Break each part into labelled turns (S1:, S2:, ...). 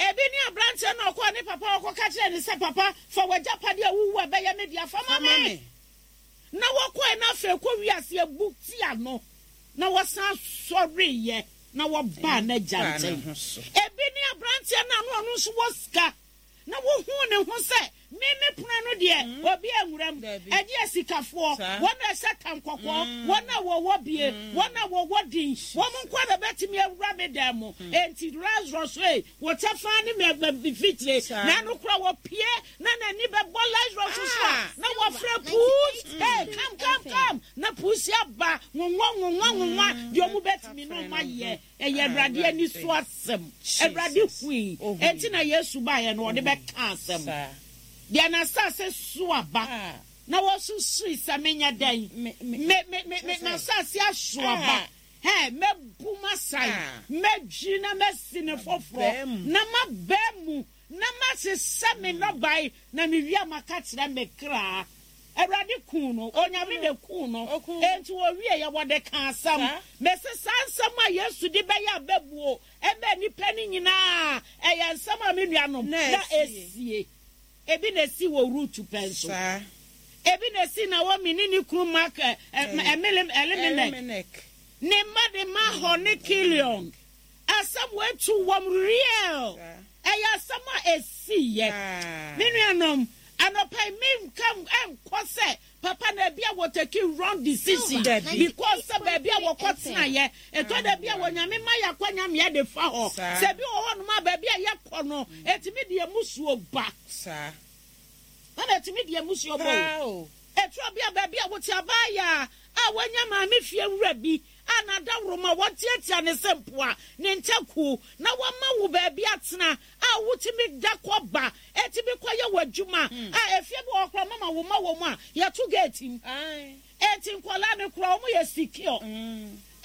S1: Ebi ne aberanteɛ no a ɔkɔɔ ne papa hɔ kɔka kyerɛɛ no sɛ, Papa, fa w'agyapadeɛ a wowu a ɛbɛyɛ me dea fa ma me. Na wɔkɔe na afei kɔ wiase abu tia no, na wɔsan sɔreeɛ na wɔbaa n'agya nkyɛn. Ebi ne aberanteɛ no a na ɔno nso wɔ sika, na wohuu ne ho sɛ, Me me pono ano deɛ, obi anwura mu, ɛgye asikafoɔ, wɔn a ɛhyɛ tam kɔkɔɔ, wɔn a wɔwɔ bie, wɔn a wɔwɔ din, wɔn nko ara na bɛtumi awura me dan mu. Enti Lazarus ei, wo kyɛfa ne me mfikyire. Na ɛno koraa wɔpue na n'ani bɛbɔ Lazarus so a, na wɔfrɛ Puus, hey, come, come, come, na Puus aba, nwonwa, nwonwa, nwonwa, deɛ wɔn bɛtumi no wɔn ayɛ. Ɛyɛ Awurade ani so asɛm. Awurade hui. Enti na Yesu baeɛ no, ɔde bɛka asɛm. Deɛ n'asase so aba, na wɔsusui sɛ menyɛ dɛn? Me, me, me, me, m'asase aso aba. Hɛ, mɛbu m'asan, mɛdwiri na masi no foforɔ, na maba mu, na masesa me nnɔbae, na mewie a maka kyerɛ me kra. Awurade kuu no, Onyame na ekuu no. Enti wɔwieɛ wɔde kaa asɛm. Mese saa nsɛm a Yesu de bɛyɛ abɛbuo ɛma nnipa no nyinaa, ɛyɛ nsɛm a me nuanom, na esie. Ebi na esii wɔ Rut pɛn so. Ebi na esii Naomi ne ne kunu Mak, Elimelek, ne mma de Mahon ne Kilion. Asɛm wei to wɔn real. Ɛyɛ asɛm a ɛsiiɛ. Me nuanom, anɔpa yi menka nkɔ sɛ papa na ebi a wɔ take wrong decision because sɛ baabi a wɔkɔ tenaeɛ ɛtɔ da bi a wɔ nyame ma yɛ akwanya ma yɛde fa hɔ. Sɛ ebi wɔ hɔnom a baabi a yɛkɔ no ɛtumi de amusuo ba. Mama ɛtumi de amusuo ba o. Ɛtɔ bi a baabi a wote abaayaa a wanya maame fie wura bi a n'adaworoma wɔtiatia ne se mpoa, ne ntakuo, na wama wo baabi atena a wotumi da kɔ ba, ɛtumi kɔyɛ w'adwuma a efie bi wɔ hɔ koraa mama wo mma wɔ mu a yɛto gate mu. Enti nkwadaa no koraa wɔn yɛ secure.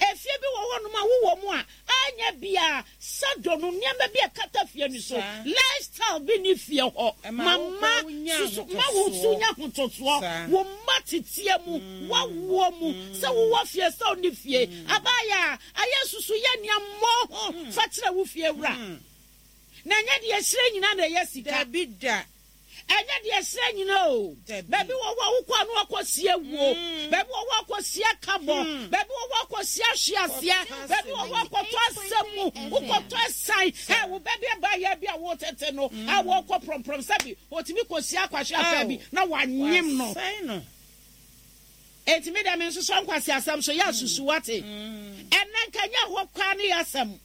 S1: Efie bi wɔ hɔnom a wowɔ mu a, anyɛ biara shadow no, nneɛma bi a ɛkata fie no so, lifestyle bi nni fie hɔ. Ma mma susu, ma wo nso nya ahotosoɔ, wo mma teteɛ mu, w'awoɔ mu, sɛ wowɔ fie sɛ wonni fie. Abaayaa, ayɛ susu yɛ nea mmɔ ho fa kyerɛ wo fie wura. Na ɛnyɛ deɛ ɛhyerɛn nyinaa na ɛyɛ sika.
S2: Dabi da.
S1: Ɛnyɛ deɛ ɛserɛ nyina o. Baabi wɔ hɔ a wokɔ a na wakɔsie wuo. Baabi wɔ hɔ a kɔsie kabɔ. Baabi wɔ hɔ a kɔsie ahweaseɛ. Baabi wɔ hɔ a kɔtɔ asɛm mu. Wokɔtɔ ɛsan. Ɛ wo ba bi abaayewa bi a wotete no a wɔkɔ prɔmprɔm sɛbi ɔtumi kɔsie akwahwe afaa bi na wanyem no. Enti me deɛ mensosɔ nkwaseasɛm so. Yɛ asusu wate. Ɛnnɛ nka nyɛ hɔ koraa ne yɛ asɛm.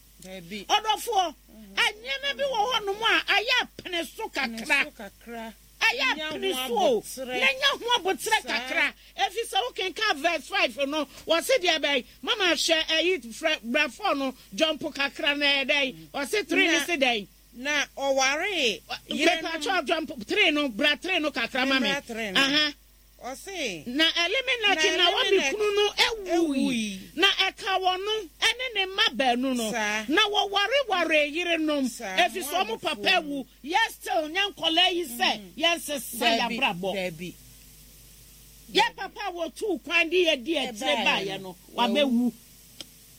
S1: Ɔdɔfoɔ, nneɛma bi wɔ hɔnom a ayɛ apene so kakra. Ayɛ apene so o, na nya ho aboterɛ kakra. Ɛfiri sɛ wokenkan verse 5 no, wɔse deɛ bɛn? Mama hwɛ ɛyi frɛ bra 4 no, jump kakra na ɛyɛ dɛn? Wɔse 3 no se dɛn?
S2: Na ɔwaree yerenom.
S1: Mepakyɛw jump 3 no, bra 3 no kakra ma me. Aha.
S2: Ɔse,
S1: Na Elimelek
S2: Na
S1: Naomi
S2: Elimelek
S1: kunu no wui,
S2: wui.
S1: na ɛkaa ɔno ne ne mma baanu no,
S2: Saa.
S1: na wɔwarewaree yerenom,
S2: Saa,
S1: efisɛ wɔn papa
S2: Moabfoɔ mu.
S1: awu. Yɛ still nyɛ nkwadaa yi sɛ yɛnsesa yɛn
S2: Dabi,
S1: abrabɔ.
S2: dabi.
S1: Yɛn papa a wɔtuu kwan de yɛn dii akyire
S2: Ɛbaeɛ
S1: baeɛ
S2: no,
S1: no,
S2: wawu.
S1: wabɛwu.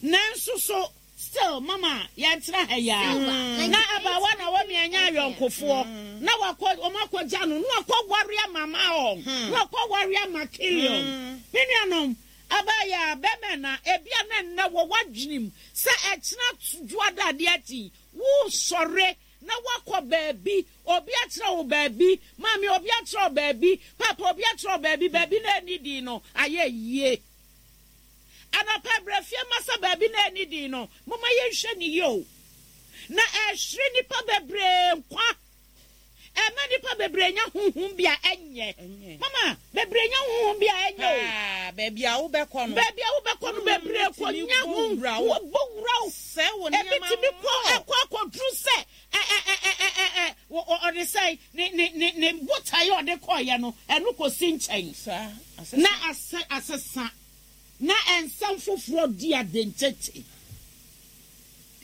S1: Nanso so Still mama yɛntra ha yi ara. Na abaawa na wɔn anya ayɔnkofoɔ na wakɔ wɔn akɔgya no na wakɔ ware ama Maon na wakɔ ware ama Kilion. Me nuanom abaayaa bɛmɛ na ebia na nnɛ wɔ w'adwenem sɛ ɛkyena dwoada adeɛ akyi wosɔre na wakɔ baabi obi akyerɛ wo baabi maame obi akyerɛ wo baabi papa obi akyerɛ wo baabi baabi na ɛni din no ayɛ yie. Anɔpa berɛ fie ma sɛ baabi na ɛnni din no, momma yɛnhwɛ no yie o. Na ɛhwere nnipa bebree nkwa. Ɛma nnipa bebree nya honhom bi a ɛnyɛ. Mama, bebree nya honhom bi a ɛnyɛ o.
S2: Paa, baabi a wobɛkɔ no.
S1: Baabi a wobɛkɔ no, bebree kɔ nya ho, wɔbɔ wura wo.
S2: Sɛ wo
S1: Ebi
S2: nneɛma
S1: tumi kɔ
S2: mmɔ.
S1: ɛkɔ akɔduru sɛ ɛ ɛ ɛ ɛ ɛ ɛ ɔde sɛ ne ne ne ne botaeɛ a ɔde kɔeɛ no, ɛno kɔsi nkyɛn.
S2: Saa, asesa.
S1: Na asɛ asesa. Na nsɛm foforɔ di ade ntete.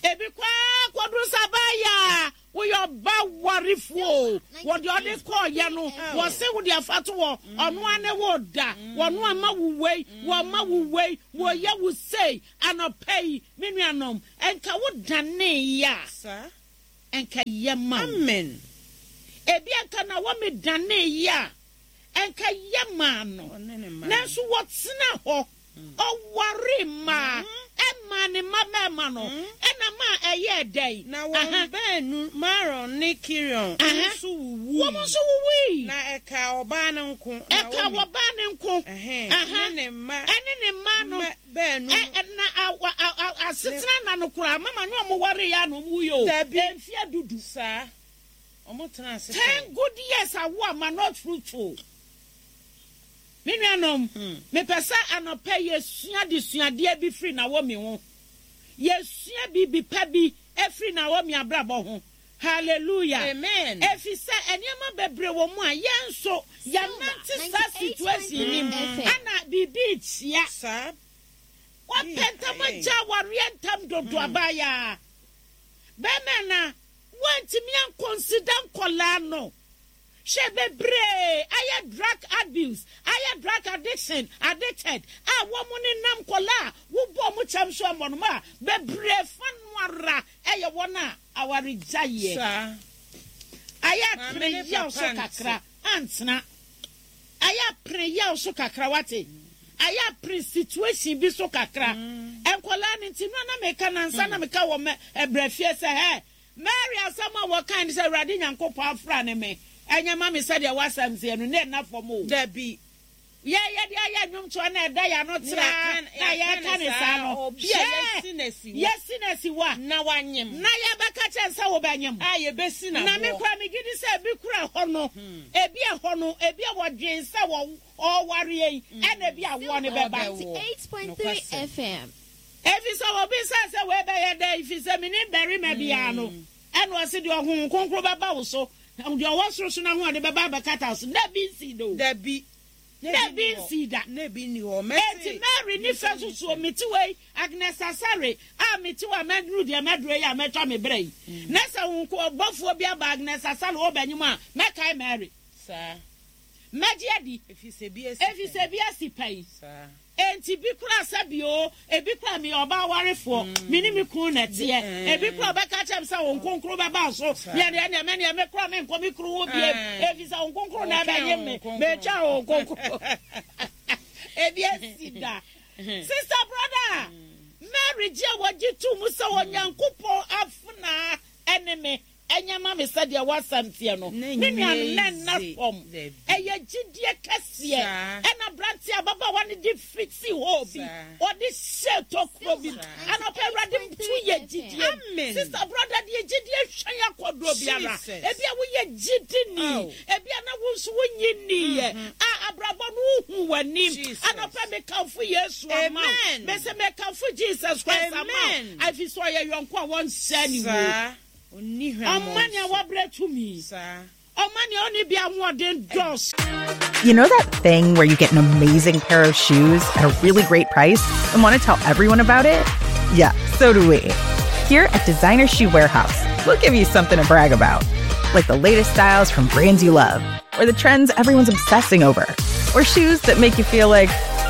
S1: Ebi kɔ ara kɔduru sɛ abaayaa, woyɛ ɔba warefoɔ o, wɔ deɛ ɔde kɔɔyɛ no, wɔse wo deɛ fa to hɔ, ɔno ara ne wo da, wɔno ama wo wei, wɔma wo wei, wɔyɛ wo sei, anɔpa yi, me nuanom, nka wo daneeɛ a. nka ɛyɛ ma wo.
S2: Amen.
S1: Ebia nka Naomi danee yɛ a, Anka yɛ maa no, nanso wɔtenaa hɔ. Ɔwaree mmaa, ɛmaa ne mma mmarima no, ɛna maa ɛyɛɛ dɛn?
S2: Na wɔn baanu, Mahlon ne Kilion, nso wuwui.
S1: Wɔn nso wuwui.
S2: Na ɛkaa ɔbaa no nko, Naomi.
S1: Ɛkaa ɔbaa no nko.
S2: Ɛne ne mma.
S1: Ɛne ne mma no.
S2: Baanu no.
S1: Na asetena nna no koraa, mama ne wɔn wareeɛ a na wɔn wuiɛ o.
S2: Dabi.
S1: Mfeɛ dudu.
S2: Saa. Wɔtenaa ase
S1: Ten
S2: pɛn.
S1: good years awo ama not fruitful. Me nuanom, mepɛ sɛ anɔpa yi yɛsua adesuadeɛ bi firi Naomi ho. Yɛsua biribi pa bi firi Naomi abrabɔ ho. Hallelujah.
S2: Amen.
S1: Ɛfiri sɛ nneɛma bebree wɔ mu a yɛn nso yɛnante saa situation no mu ɛna biribi rekyia.
S2: Saa.
S1: Wapɛ ntam agya awareɛ ntam dodo abaayaa. Bɛrima na Woantumi ankɔnsida nkɔlaa no. Hwɛ bebree ayɛ drug abuse, ayɛ drug addiction, addicted a wɔn nenam nkɔlaa a wobɔ wɔn kyɛm so mmɔ no a bebree fa no ara yɛ wɔn a awaregyaeɛ
S2: Saa.
S1: ayɛ
S2: Maame
S1: apene
S2: ne
S1: yaw so
S2: papa nte.
S1: kakra antena. Ayɛ apene yaw so kakra wate. Ayɛ apene situation bi so kakra. Nkɔlaa no nti no a na meka nansa na meka wɔ mɛ ɛbrɛ fie sɛ hɛ Mary asɛm a wɔkae ne sɛ, Awurade Nyankopɔn afra ne me, ɛnyɛ mma me sɛdeɛ w'asɛm teɛ no, na ɛnna fam o.
S2: Dabi.
S1: Yɛn yɛde ayɛ nnwomtoɔ na ɛda yɛn ano traa na yɛreka ne saa no, hwɛ, yɛasi no asi hɔ a,
S2: Na wanyem.
S1: na yɛbɛka kyerɛ no sɛ wobɛnyem.
S2: A yɛbɛsi no
S1: Na me
S2: aboɔ.
S1: koraa megye di sɛ ebi kora hɔ no, ebi ɛhɔ no, ebi a wɔdwen sɛ wɔ ɔrewareɛ yi, ɛna ebi awoɔ no bɛba.
S2: Ɔbɛwo. Nokwasɛm.
S1: Efisɛ obisaa sɛ, Wei bɛyɛ dɛn? Efisɛ minnim barima biara no. Ɛnna ɔse, Deɛ Honhom Kronkron bɛba wo so, na deɛ ɔwɔ soro so no ahoɔden bɛba abɛkata wo so. Na ebi nsii da o.
S2: Dabi.
S1: Na ebi nsii da.
S2: Na ebi nni hɔ.
S1: Enti Mary ne fɛ nso soɔ, mete wei, Agnes Asare, a mete hɔ a maduru deɛ maduru yi a matwa me berɛ yi, na sɛ Honhom Ɔbɔfoɔ bi aba Agnes Asare hɔ bɛnyem a, mɛkae Mary.
S2: Saa.
S1: Mɛgye adi.
S2: Efisɛ ebi asi pɛn.
S1: Efisɛ ebi asi pɛn.
S2: Saa.
S1: Enti bi koraa sɛ bi oo, ebi koraa meyɛ ɔbaa warefoɔ, me ne me kunu na ɛteɛ. Ebi koraa ɔbɛka akyerɛ me sɛ Honhom Kronkron bɛba wo so, meɛ deɛ ɛnneɛ me deɛ me koraa menkɔ me kunu ho bio, efisɛ Honhom Kronkron na ɛbɛnyem me, metwɛn Honhom Kronkron. Ebi asi da. Sister, brother, Mary gye a wɔgye too mu sɛ Onyankopɔn afenaa ne me. Ɛnyɛ ma me sɛdeɛ w'asɛm teɛ no, me nuanom, na ɛnna fam. Ɛyɛ gyidie kɛseɛ. Ɛna aberanteɛ ababaawa no de fiti hɔ bi, ɔde hyɛɛ tokuro bi mu. Anɔpa Awurade to yɛ gyidie. Sister, brother, deɛ gyidie hwɛn akɔduro biara. Ebia woyɛ gyidini, ebia na wo nso wonnye nniiɛ. A abrabɔ no wohu w'anim. Anɔpa mekamfo Yesu ama wo. Mese mekamfo Jesus Christ ama wo. Ɛfiri sɛ ɔyɛ yɔnko a wɔnsɛ ne wuo. Ɔmma nea wabrɛ tumi. Ɔmma nea ɔnni bi ahoɔden dɔɔso.
S3: You know that thing where you get an amazing pair of shoes at a really great price and want to tell everyone about it? Yeah, so do we. Here at Designer Shoe Warehouse, we'll give you something to brag about, like the latest styles from brands you love, or the trends everyone's obsessing over, or shoes that make you feel like,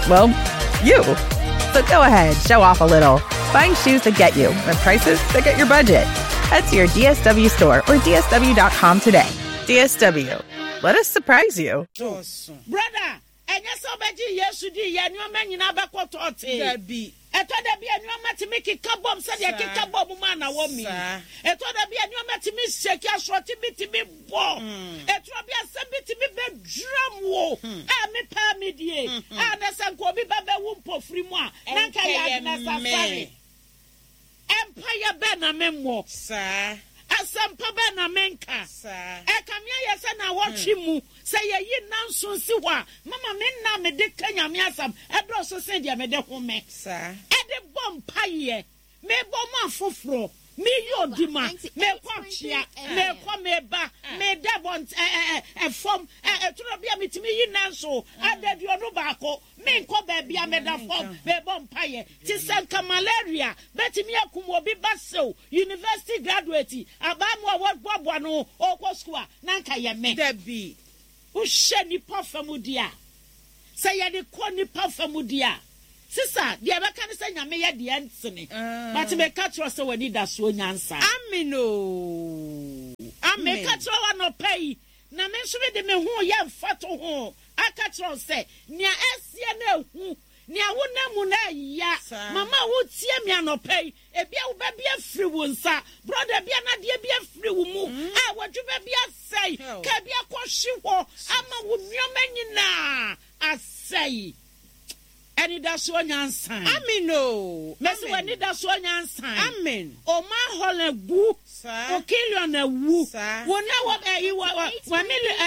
S3: well, you. So go ahead, show off a little. Find shoes that get you at prices that get your budget. Head to your DSW store or DSW.com today. DSW, let us surprise you.
S1: Brother, ɛnyɛ sɛ wobɛgye Yesu di yɛ nneɛma nyinaa bɛkɔ tɔɔtee.
S2: Dabi.
S1: Ɛtɔ da bi a nneɛma tumi keka bom sɛdeɛ ɛkeka bɔɔ mu maa Naomi. Ɛtɔ da bi a nneɛma tumi shake, asorɔkye bi tumi bɔ. Ɛtɔ bi a asɛm bi tumi bɛdram wo. A me paa me die. A na sɛ nka obi ba bɛwu mpofiri mu a, na nka yɛ Agnes Asare. Mpaeɛ bɛn na memmɔ? Asɛmpa bɛn na menka? Ɛkame ayɛ sɛ nnawɔtwe mu, sɛ yɛyi nnanson si hɔ a, mama me nna a mede ka Nyame asɛm dɔɔso sen deɛ mede home de bɔ mpaeɛ, mebɔ ma afoforɔ, meyɛ odima, mekɔ akyea, mekɔ meba, meda bɔnt ɛ ɛ ɛ fam, ɛ ɛtoro bi a metumi yi nnanson, adaduonu baako, menkɔ baabi a meda fam mebɔ mpaeɛ. Te sɛ nka malaria bɛtumi akum obi ba sew university graduate abaamuwa a wɔboaboa ne ho ɔrekɔ sukuu a, na anka yɛ me.
S2: Dabi.
S1: Wohwɛ nnipa fa mu deɛ a, sɛ yɛde kɔ nnipa fa mu deɛ a, Sista, deɛ ɛbɛka ne sɛ Nyame yɛ deɛ ɛntene. But meka kyerɛ wo sɛ w'anidasoɔ nyansa.
S2: Amen oo. Amen.
S1: Meka kyerɛ wo anɔpa yi, na me nso mede me ho reyɛ mfatoho aka kyerɛ wo sɛ, nea ɛreseɛ no ɛhu, nea wonam mu no ɛya. Mama a woretie me anɔpa yi, ebia wo ba bi afiri wo nsa, brɔda bi anaa adeɛ bi afiri wo mu a w'adwuma bi asɛe, kaa bi akɔhwe hɔ ama wo nneɛma nyinaa asɛe. Anidasoɔ nyansa.
S2: Amen oo.
S1: Mese w'anidasoɔ nyansa.
S2: Amen.
S1: Oma Holland wu.
S2: Saa.
S1: O Kilion awu.
S2: Saa.
S1: Wo na wɔ ɛyi wɔ wɔ wɔ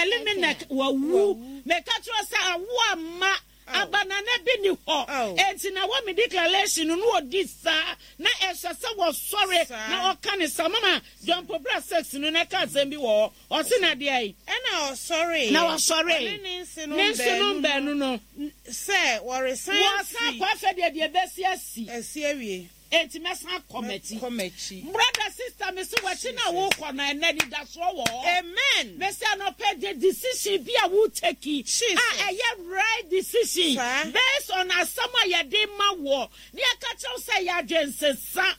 S1: Elimelech wawu. Meka kyerɛ sɛ awo amma. Abanana bi ni hɔ. Enti na wɔ me declaration no na ɔdi saa na ɛsɛ sɛ wɔsɔre na ɔka ne saa. Mama John Pobra 6 no na ɛka asɛm bi wɔ hɔ. Ɔse na deɛn?
S2: Ɛna ɔsɔreeɛ.
S1: Na ɔsɔree.
S2: Ɔne ne nsenom
S1: Ne nsenom baanu no.
S2: Sɛ wɔresan afiri.
S1: Wɔresan akɔ afei deɛ deɛ ɛbɛsi asi.
S2: Asi awie.
S1: Enti mɛsan akɔ m'akyi.
S2: Mɛkɔ m'akyi.
S1: Brother, sister, mese w'akyi no a worekɔ no, ɛnnɛ anidasoɔ wɔ hɔ.
S2: Amen.
S1: Mese anɔpa yi, the decision bi a wo take a ɛyɛ right decision based on asɛm a yɛde ma woɔ na yɛka kyerɛ wo sɛ ɛyɛ adwensesa.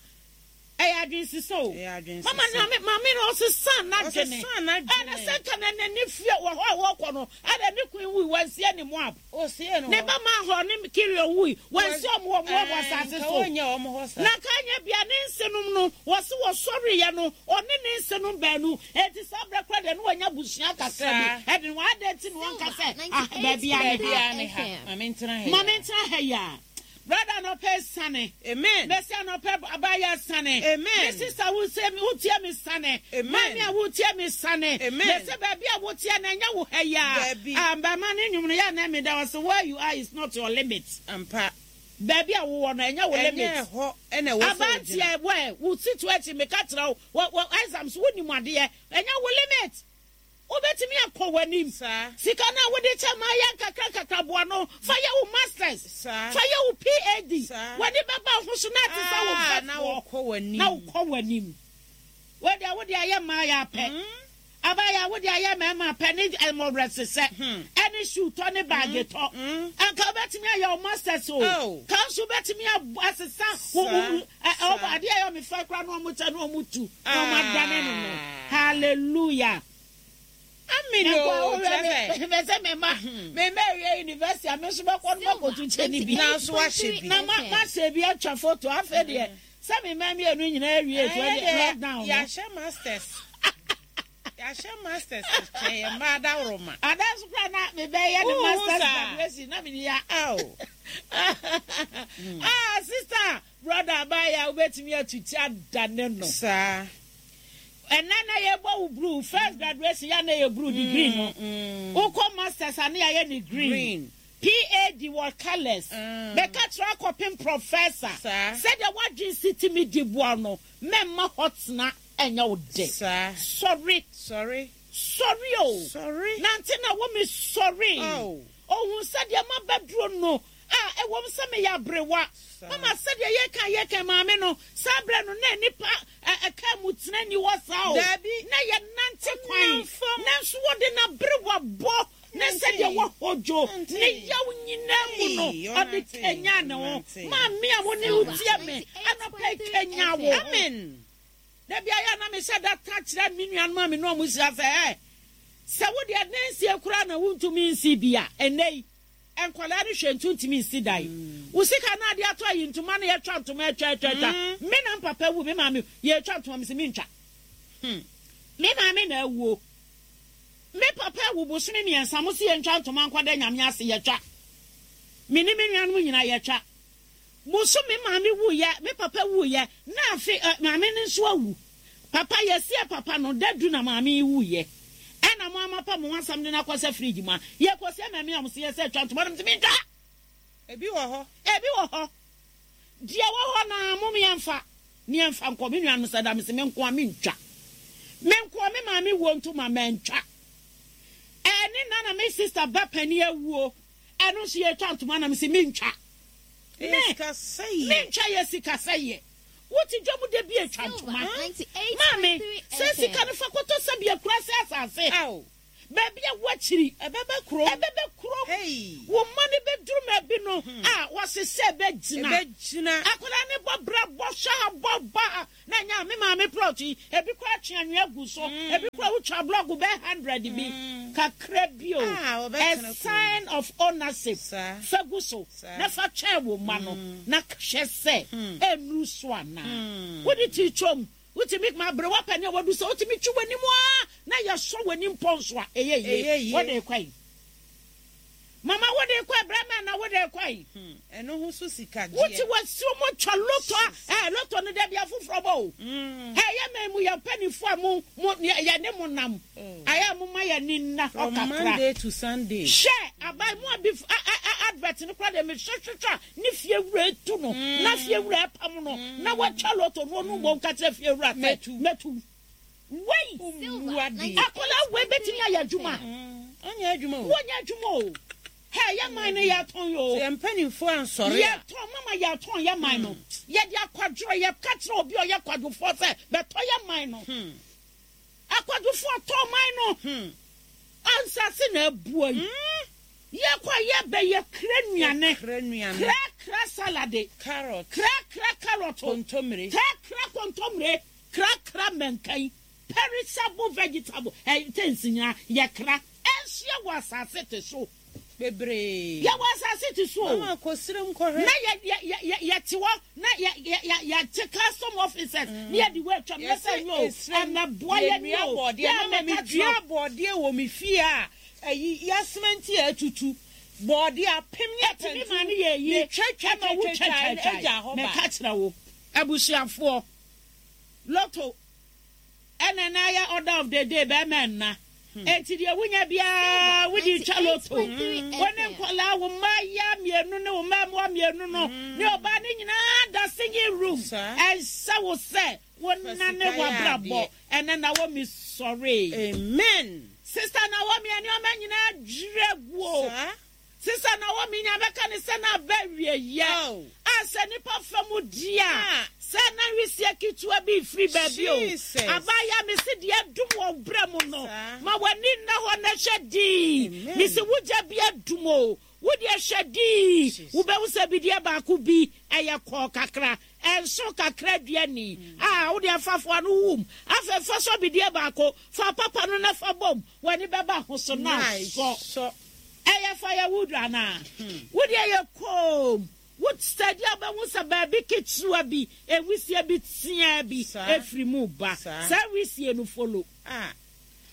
S1: Ɛyɛ adwensesa o. Mama na me maame no ɔsesa n'adwene. Ɛna sɛ nka na n'ani fie wɔ hɔ a wɔkɔ no, ɛna ne kun wui wansie ne Moab. Ne ba Mahor ne Kilion wui wansie wɔn wɔ Moab asase so. Na nka anyɛ bia ne nsenom no wɔse wɔsɔreeɛ no ɔne ne nsenom baanu. Enti saa berɛ koraa deɛ na wanya abusua kakra bi. Ɛde no adɛn nti na wɔnka sɛ ah baabi a ne ha. Ma mentena ha yi a. Brother anɔpɛ sane.
S2: Amen.
S1: Mesi anɔpɛ abaayewa sane.
S2: Amen.
S1: Me sister wo se wo tie me sane.
S2: Amen.
S1: Maame a wo tie me sane.
S2: Amen.
S1: Mesi baabi a wo tie na ɛnyɛ wo ha yi a.
S2: Daabi.
S1: Ah, bɛma ne nnwom no yɛ na me da wɔ where you are is not your limit.
S2: Ampa.
S1: Baabi a wowɔ no ɛnyɛ wo limit.
S2: Ɛnyɛ hɔ ɛna ɛwɔ sɛ wogyina.
S1: Abanteɛ wɛ wo situation meka kyerɛ wo wɔ exams wo nim adeɛ ɛnyɛ wo limit. Wobɛtumi akɔ w'anim. Sika no a wode kyɛ ma yɛ nkakrankakra boa no fa yɛ wo masters, fa yɛ wo PhD. W'ani bɛba wo ho so na ate sɛ wo mfɛfoɔ na wokɔ w'anim. Wei deɛ wode ayɛ mmaayɛ apɛ, abaayewa wode ayɛ mmarima apɛ ne mmɔwerɛsesɛ ɛne shoe tɔ ne baage tɔ. Anka wobɛtumi ayɛ wo masters o. Ka nso wobɛtumi asesa wo adeɛ a ɛyɛ me fɛ koraa na wɔkyɛ na wɔtu na wɔadane no no. Hallelujah.
S2: Amen o, kyerɛ sɛ.
S1: Mɛ sɛ me ma me ma awie university a me nso bɛkɔ no makɔtu kyɛ ne bi.
S2: Nanso wahyɛ bi.
S1: Na ma mahyɛ bi atwa photo afei deɛ sɛ me ma mmienu nyinaa awie so ɛdeɛ lockdown no.
S2: Yɛahyɛ masters. Yɛahyɛ masters kyɛn yɛn mma adaworoma.
S1: Ada nso koraa na mebɛyɛ ne masters graduation na mene ya. Ah sister brother abaayewa wobɛtumi atuti adane no.
S2: Saa.
S1: Ɛnɛ na yɛbɔ wo blue first graduation yɛ na yɛ blue degree no. Wokɔ masters a ne yɛayɛ ne green. PAD wɔ colours. Bɛka kyerɛ akɔpem professor. Sɛdeɛ w'adwene si tumi di boa no mɛmma hɔ tena ɛnyɛ wo dɛ. Sɔre.
S2: Sɔre.
S1: Sɔre o.
S2: Sɔre.
S1: Nante na wo me sɔre. Ohun sɛdeɛ mabɛduro no. A Ɛwom sɛ meyɛ aberewa, mama sɛdeɛ yɛka a yɛka maame no, saa berɛ no na nnipa ɛ, kaa mu tena nni hɔ saa o.
S2: Dabi.
S1: Na yɛnante kwan,
S2: Ɔnam fam.
S1: nanso wɔde n'aberewa bɔ ne sɛdeɛ wahodwo ne yaw nyinaa mu no,
S2: Ei,
S1: ɔde
S2: ɔnante,
S1: kanyan ne ho.
S2: ɔnante.
S1: Maame a wo ne wo tie me anɔpa yi, kanyan wo ho.
S2: Amen.
S1: Da bi ayɛ a na mehyɛ da ka kyerɛ me nuanom a me ne wɔn hyia sɛ, Ɛ, sɛ wo deɛ nansie koraa na wuntumi nsi bi a, ɛnnɛ yi, Nkwadaa no hwɛ nti wontumi nsi dan. Wo sika no ade atɔ ayi ntoma no yɛtwa ntoma atwa atwa atwa. Me na mpapa wu me maame yɛtwa ntoma mese mentwa. Me maame na awuo. Me papa awu bosome mmiɛnsa mo se yɛntwa ntoma nkɔda Nyame ase yɛtwa. Me ne me nuanom nyinaa yɛtwa. Bosome maame wuiɛ, me papa wuiɛ, na afe ɛ, maame no nso awu. Papa, yɛsiee papa no da du na maame yi wuiɛ. Ɛna mo ara moapa mo ho asɛm de no akɔhyɛ fridge mu a, yɛkɔsie maame a wɔse yɛsɛ twa ntoma no, mese mentwa!
S2: Ebi wɔ hɔ.
S1: Ebi wɔ hɔ. Deɛ ɛwɔ hɔ no ara mom yɛmfa na yɛmfa nkɔ. Me nuanom sɛ da, mese me nkoa mentwa. Me nkoa, me maame wuo ntoma mantwa. Ɛne na na me sister ba panin awuo, ɛno nso yɛtwa ntoma na mese mentwa. Me, mentwa yɛ sikasɛeɛ. Wote dwa mu da bi atwa ntoma. Maame, sɛ sika no fa kɔtɔ sɛbi akurase asase. Baabi a woakyiri.
S2: Ɛbɛba kurom.
S1: Ɛbɛba kurom. Wo mma no bɛduru baabi no a, wɔsesɛ bɛgyina. Akwadaa no bɔ bra bɔ hwɛ ha bɔ ba ha na ɛnyɛ a me maame plot yi, ebi koraa twe anwea gu so, ebi koraa wotwa blɔk bɛyɛ hundred bi, kakra bi o. A sign of ownership fa gu so na fa twɛn wo mma no na hwɛ sɛ ɛnnuru so anaa. Wode ti twam. Wotumi ma aberewa panin a wadu sɛ wotumi twe w'anim ara na yɛsɔ w'anim pɔn so a, ɛyɛ yie. Wode rekɔ yi. Mama wode rekɔ yi, brɛma na wode rekɔ yi.
S2: Hmm, ɛno ho so sika gyeɛ.
S1: Wote w'asuo mu twa lotto a, ɛɛ lotto no dabi afoforɔ bɔ o. Mm. Ɛyɛ mɛ mu yɛ mpanimfoɔ a mo mo yɛ ne mo nam. Oh. Ayɛ a mo ma yɛ ani nna hɔ kakra.
S2: From Monday to Sunday.
S1: Hwɛ aban mu a bi advert no koraa deɛ mehwehwehwɛ a Ne fie wura etu no, na fie wura ɛpam no, na watwa lotto no, ɔno mmom ka kyerɛ fie wura sɛ, Mɛtu. Wei, akwadaa wei bɛtumi ayɛ adwuma?
S2: Ɔnyɛ adwuma o.
S1: Wɔnyɛ adwuma o. Hɛ, yɛ man no yɛtɔn o.
S2: Sɛ yɛn mpanimfoɔ ansɔre a.
S1: Yɛtɔn, mama yɛtɔn yɛ man no. Yɛde akwadworɔ, yɛka kyerɛ obi a ɔyɛ kwadwofoɔ sɛ, bɛtɔ yɛ man no. Akwadwofoɔ tɔn man no. Ansase na abua yi. Yɛkɔ a yɛbɛ yɛ kra nnuane. Kra kra salade.
S2: Carrot.
S1: Kra kra carrot.
S2: Kontomire.
S1: Kra kra kontomire. Kra kra mɛnkan. Perishable vegetable. Ɛ things nyinaa yɛ kra. Ɛnso yɛwɔ asase te so.
S2: Bebree.
S1: Yɛwɔ asase te so o.
S2: Mama kɔ serem kɔhwɛ.
S1: Na yɛ yɛ yɛ yɛ yɛte hɔ na yɛ yɛ yɛ yɛte custom officers ne yɛde wɔ atwam na sɛ nyɛ o ɛmɛboa yɛ ni o.
S2: Yɛ mama me dua bɔɔdeɛ wɔ me fie a ɛyi yasemɛnti a atutu bɔɔdeɛ apem ne
S1: Ɛtumi ma no yɛ yie
S2: me twa twa
S1: ɛma wo
S2: twa
S1: twa
S2: twa
S1: twa
S2: agya hɔ ba.
S1: Meka kyerɛ wo abusuafoɔ lotto Ɛna na ayɛ order of the day bɛɛma nna enti deɛ wonya biara wode twa loto. Wo ne nkwadaa, wo mmaayewa mmienu ne wo mmaamua mmienu no ne ɔbaa no nyinaa da singing room. Ɛnsɛ wo sɛ wonane w'abrabɔ. Ɛnɛ Naomi sɔree.
S2: Amen.
S1: Sister Naomi nneɛma nyinaa dwiri agu o. Te sɛ Naomi nya bɛka ne sɛ na aba awieeɛ a sɛ nnipa fa mu di a, sɛ na wisie ketewa bi refiri baabi o. Abaayewa, mese deɛ adum wɔ wo berɛ mu no, ma w'ani nna hɔ na hwɛ dinn. Mese wo gya bi adum o, wo deɛ hwɛ dinn, wobɛhu sɛ bideɛ baako bi, ɛyɛ kɔɔ kakra, ɛnso kakra dua ni a, wo deɛ fa foa no wum. Afei fa sɔ bideɛ baako, fa papa no na fa bom, w'ani bɛba ho so na asɔ. Ɛyɛ firewood anaa? Wo deɛ yɛ koom. Wo study a wobɛhu sɛ baabi ketewa bi, nwisie bi teaa bi firi mu ba. Saa nwisie no follow.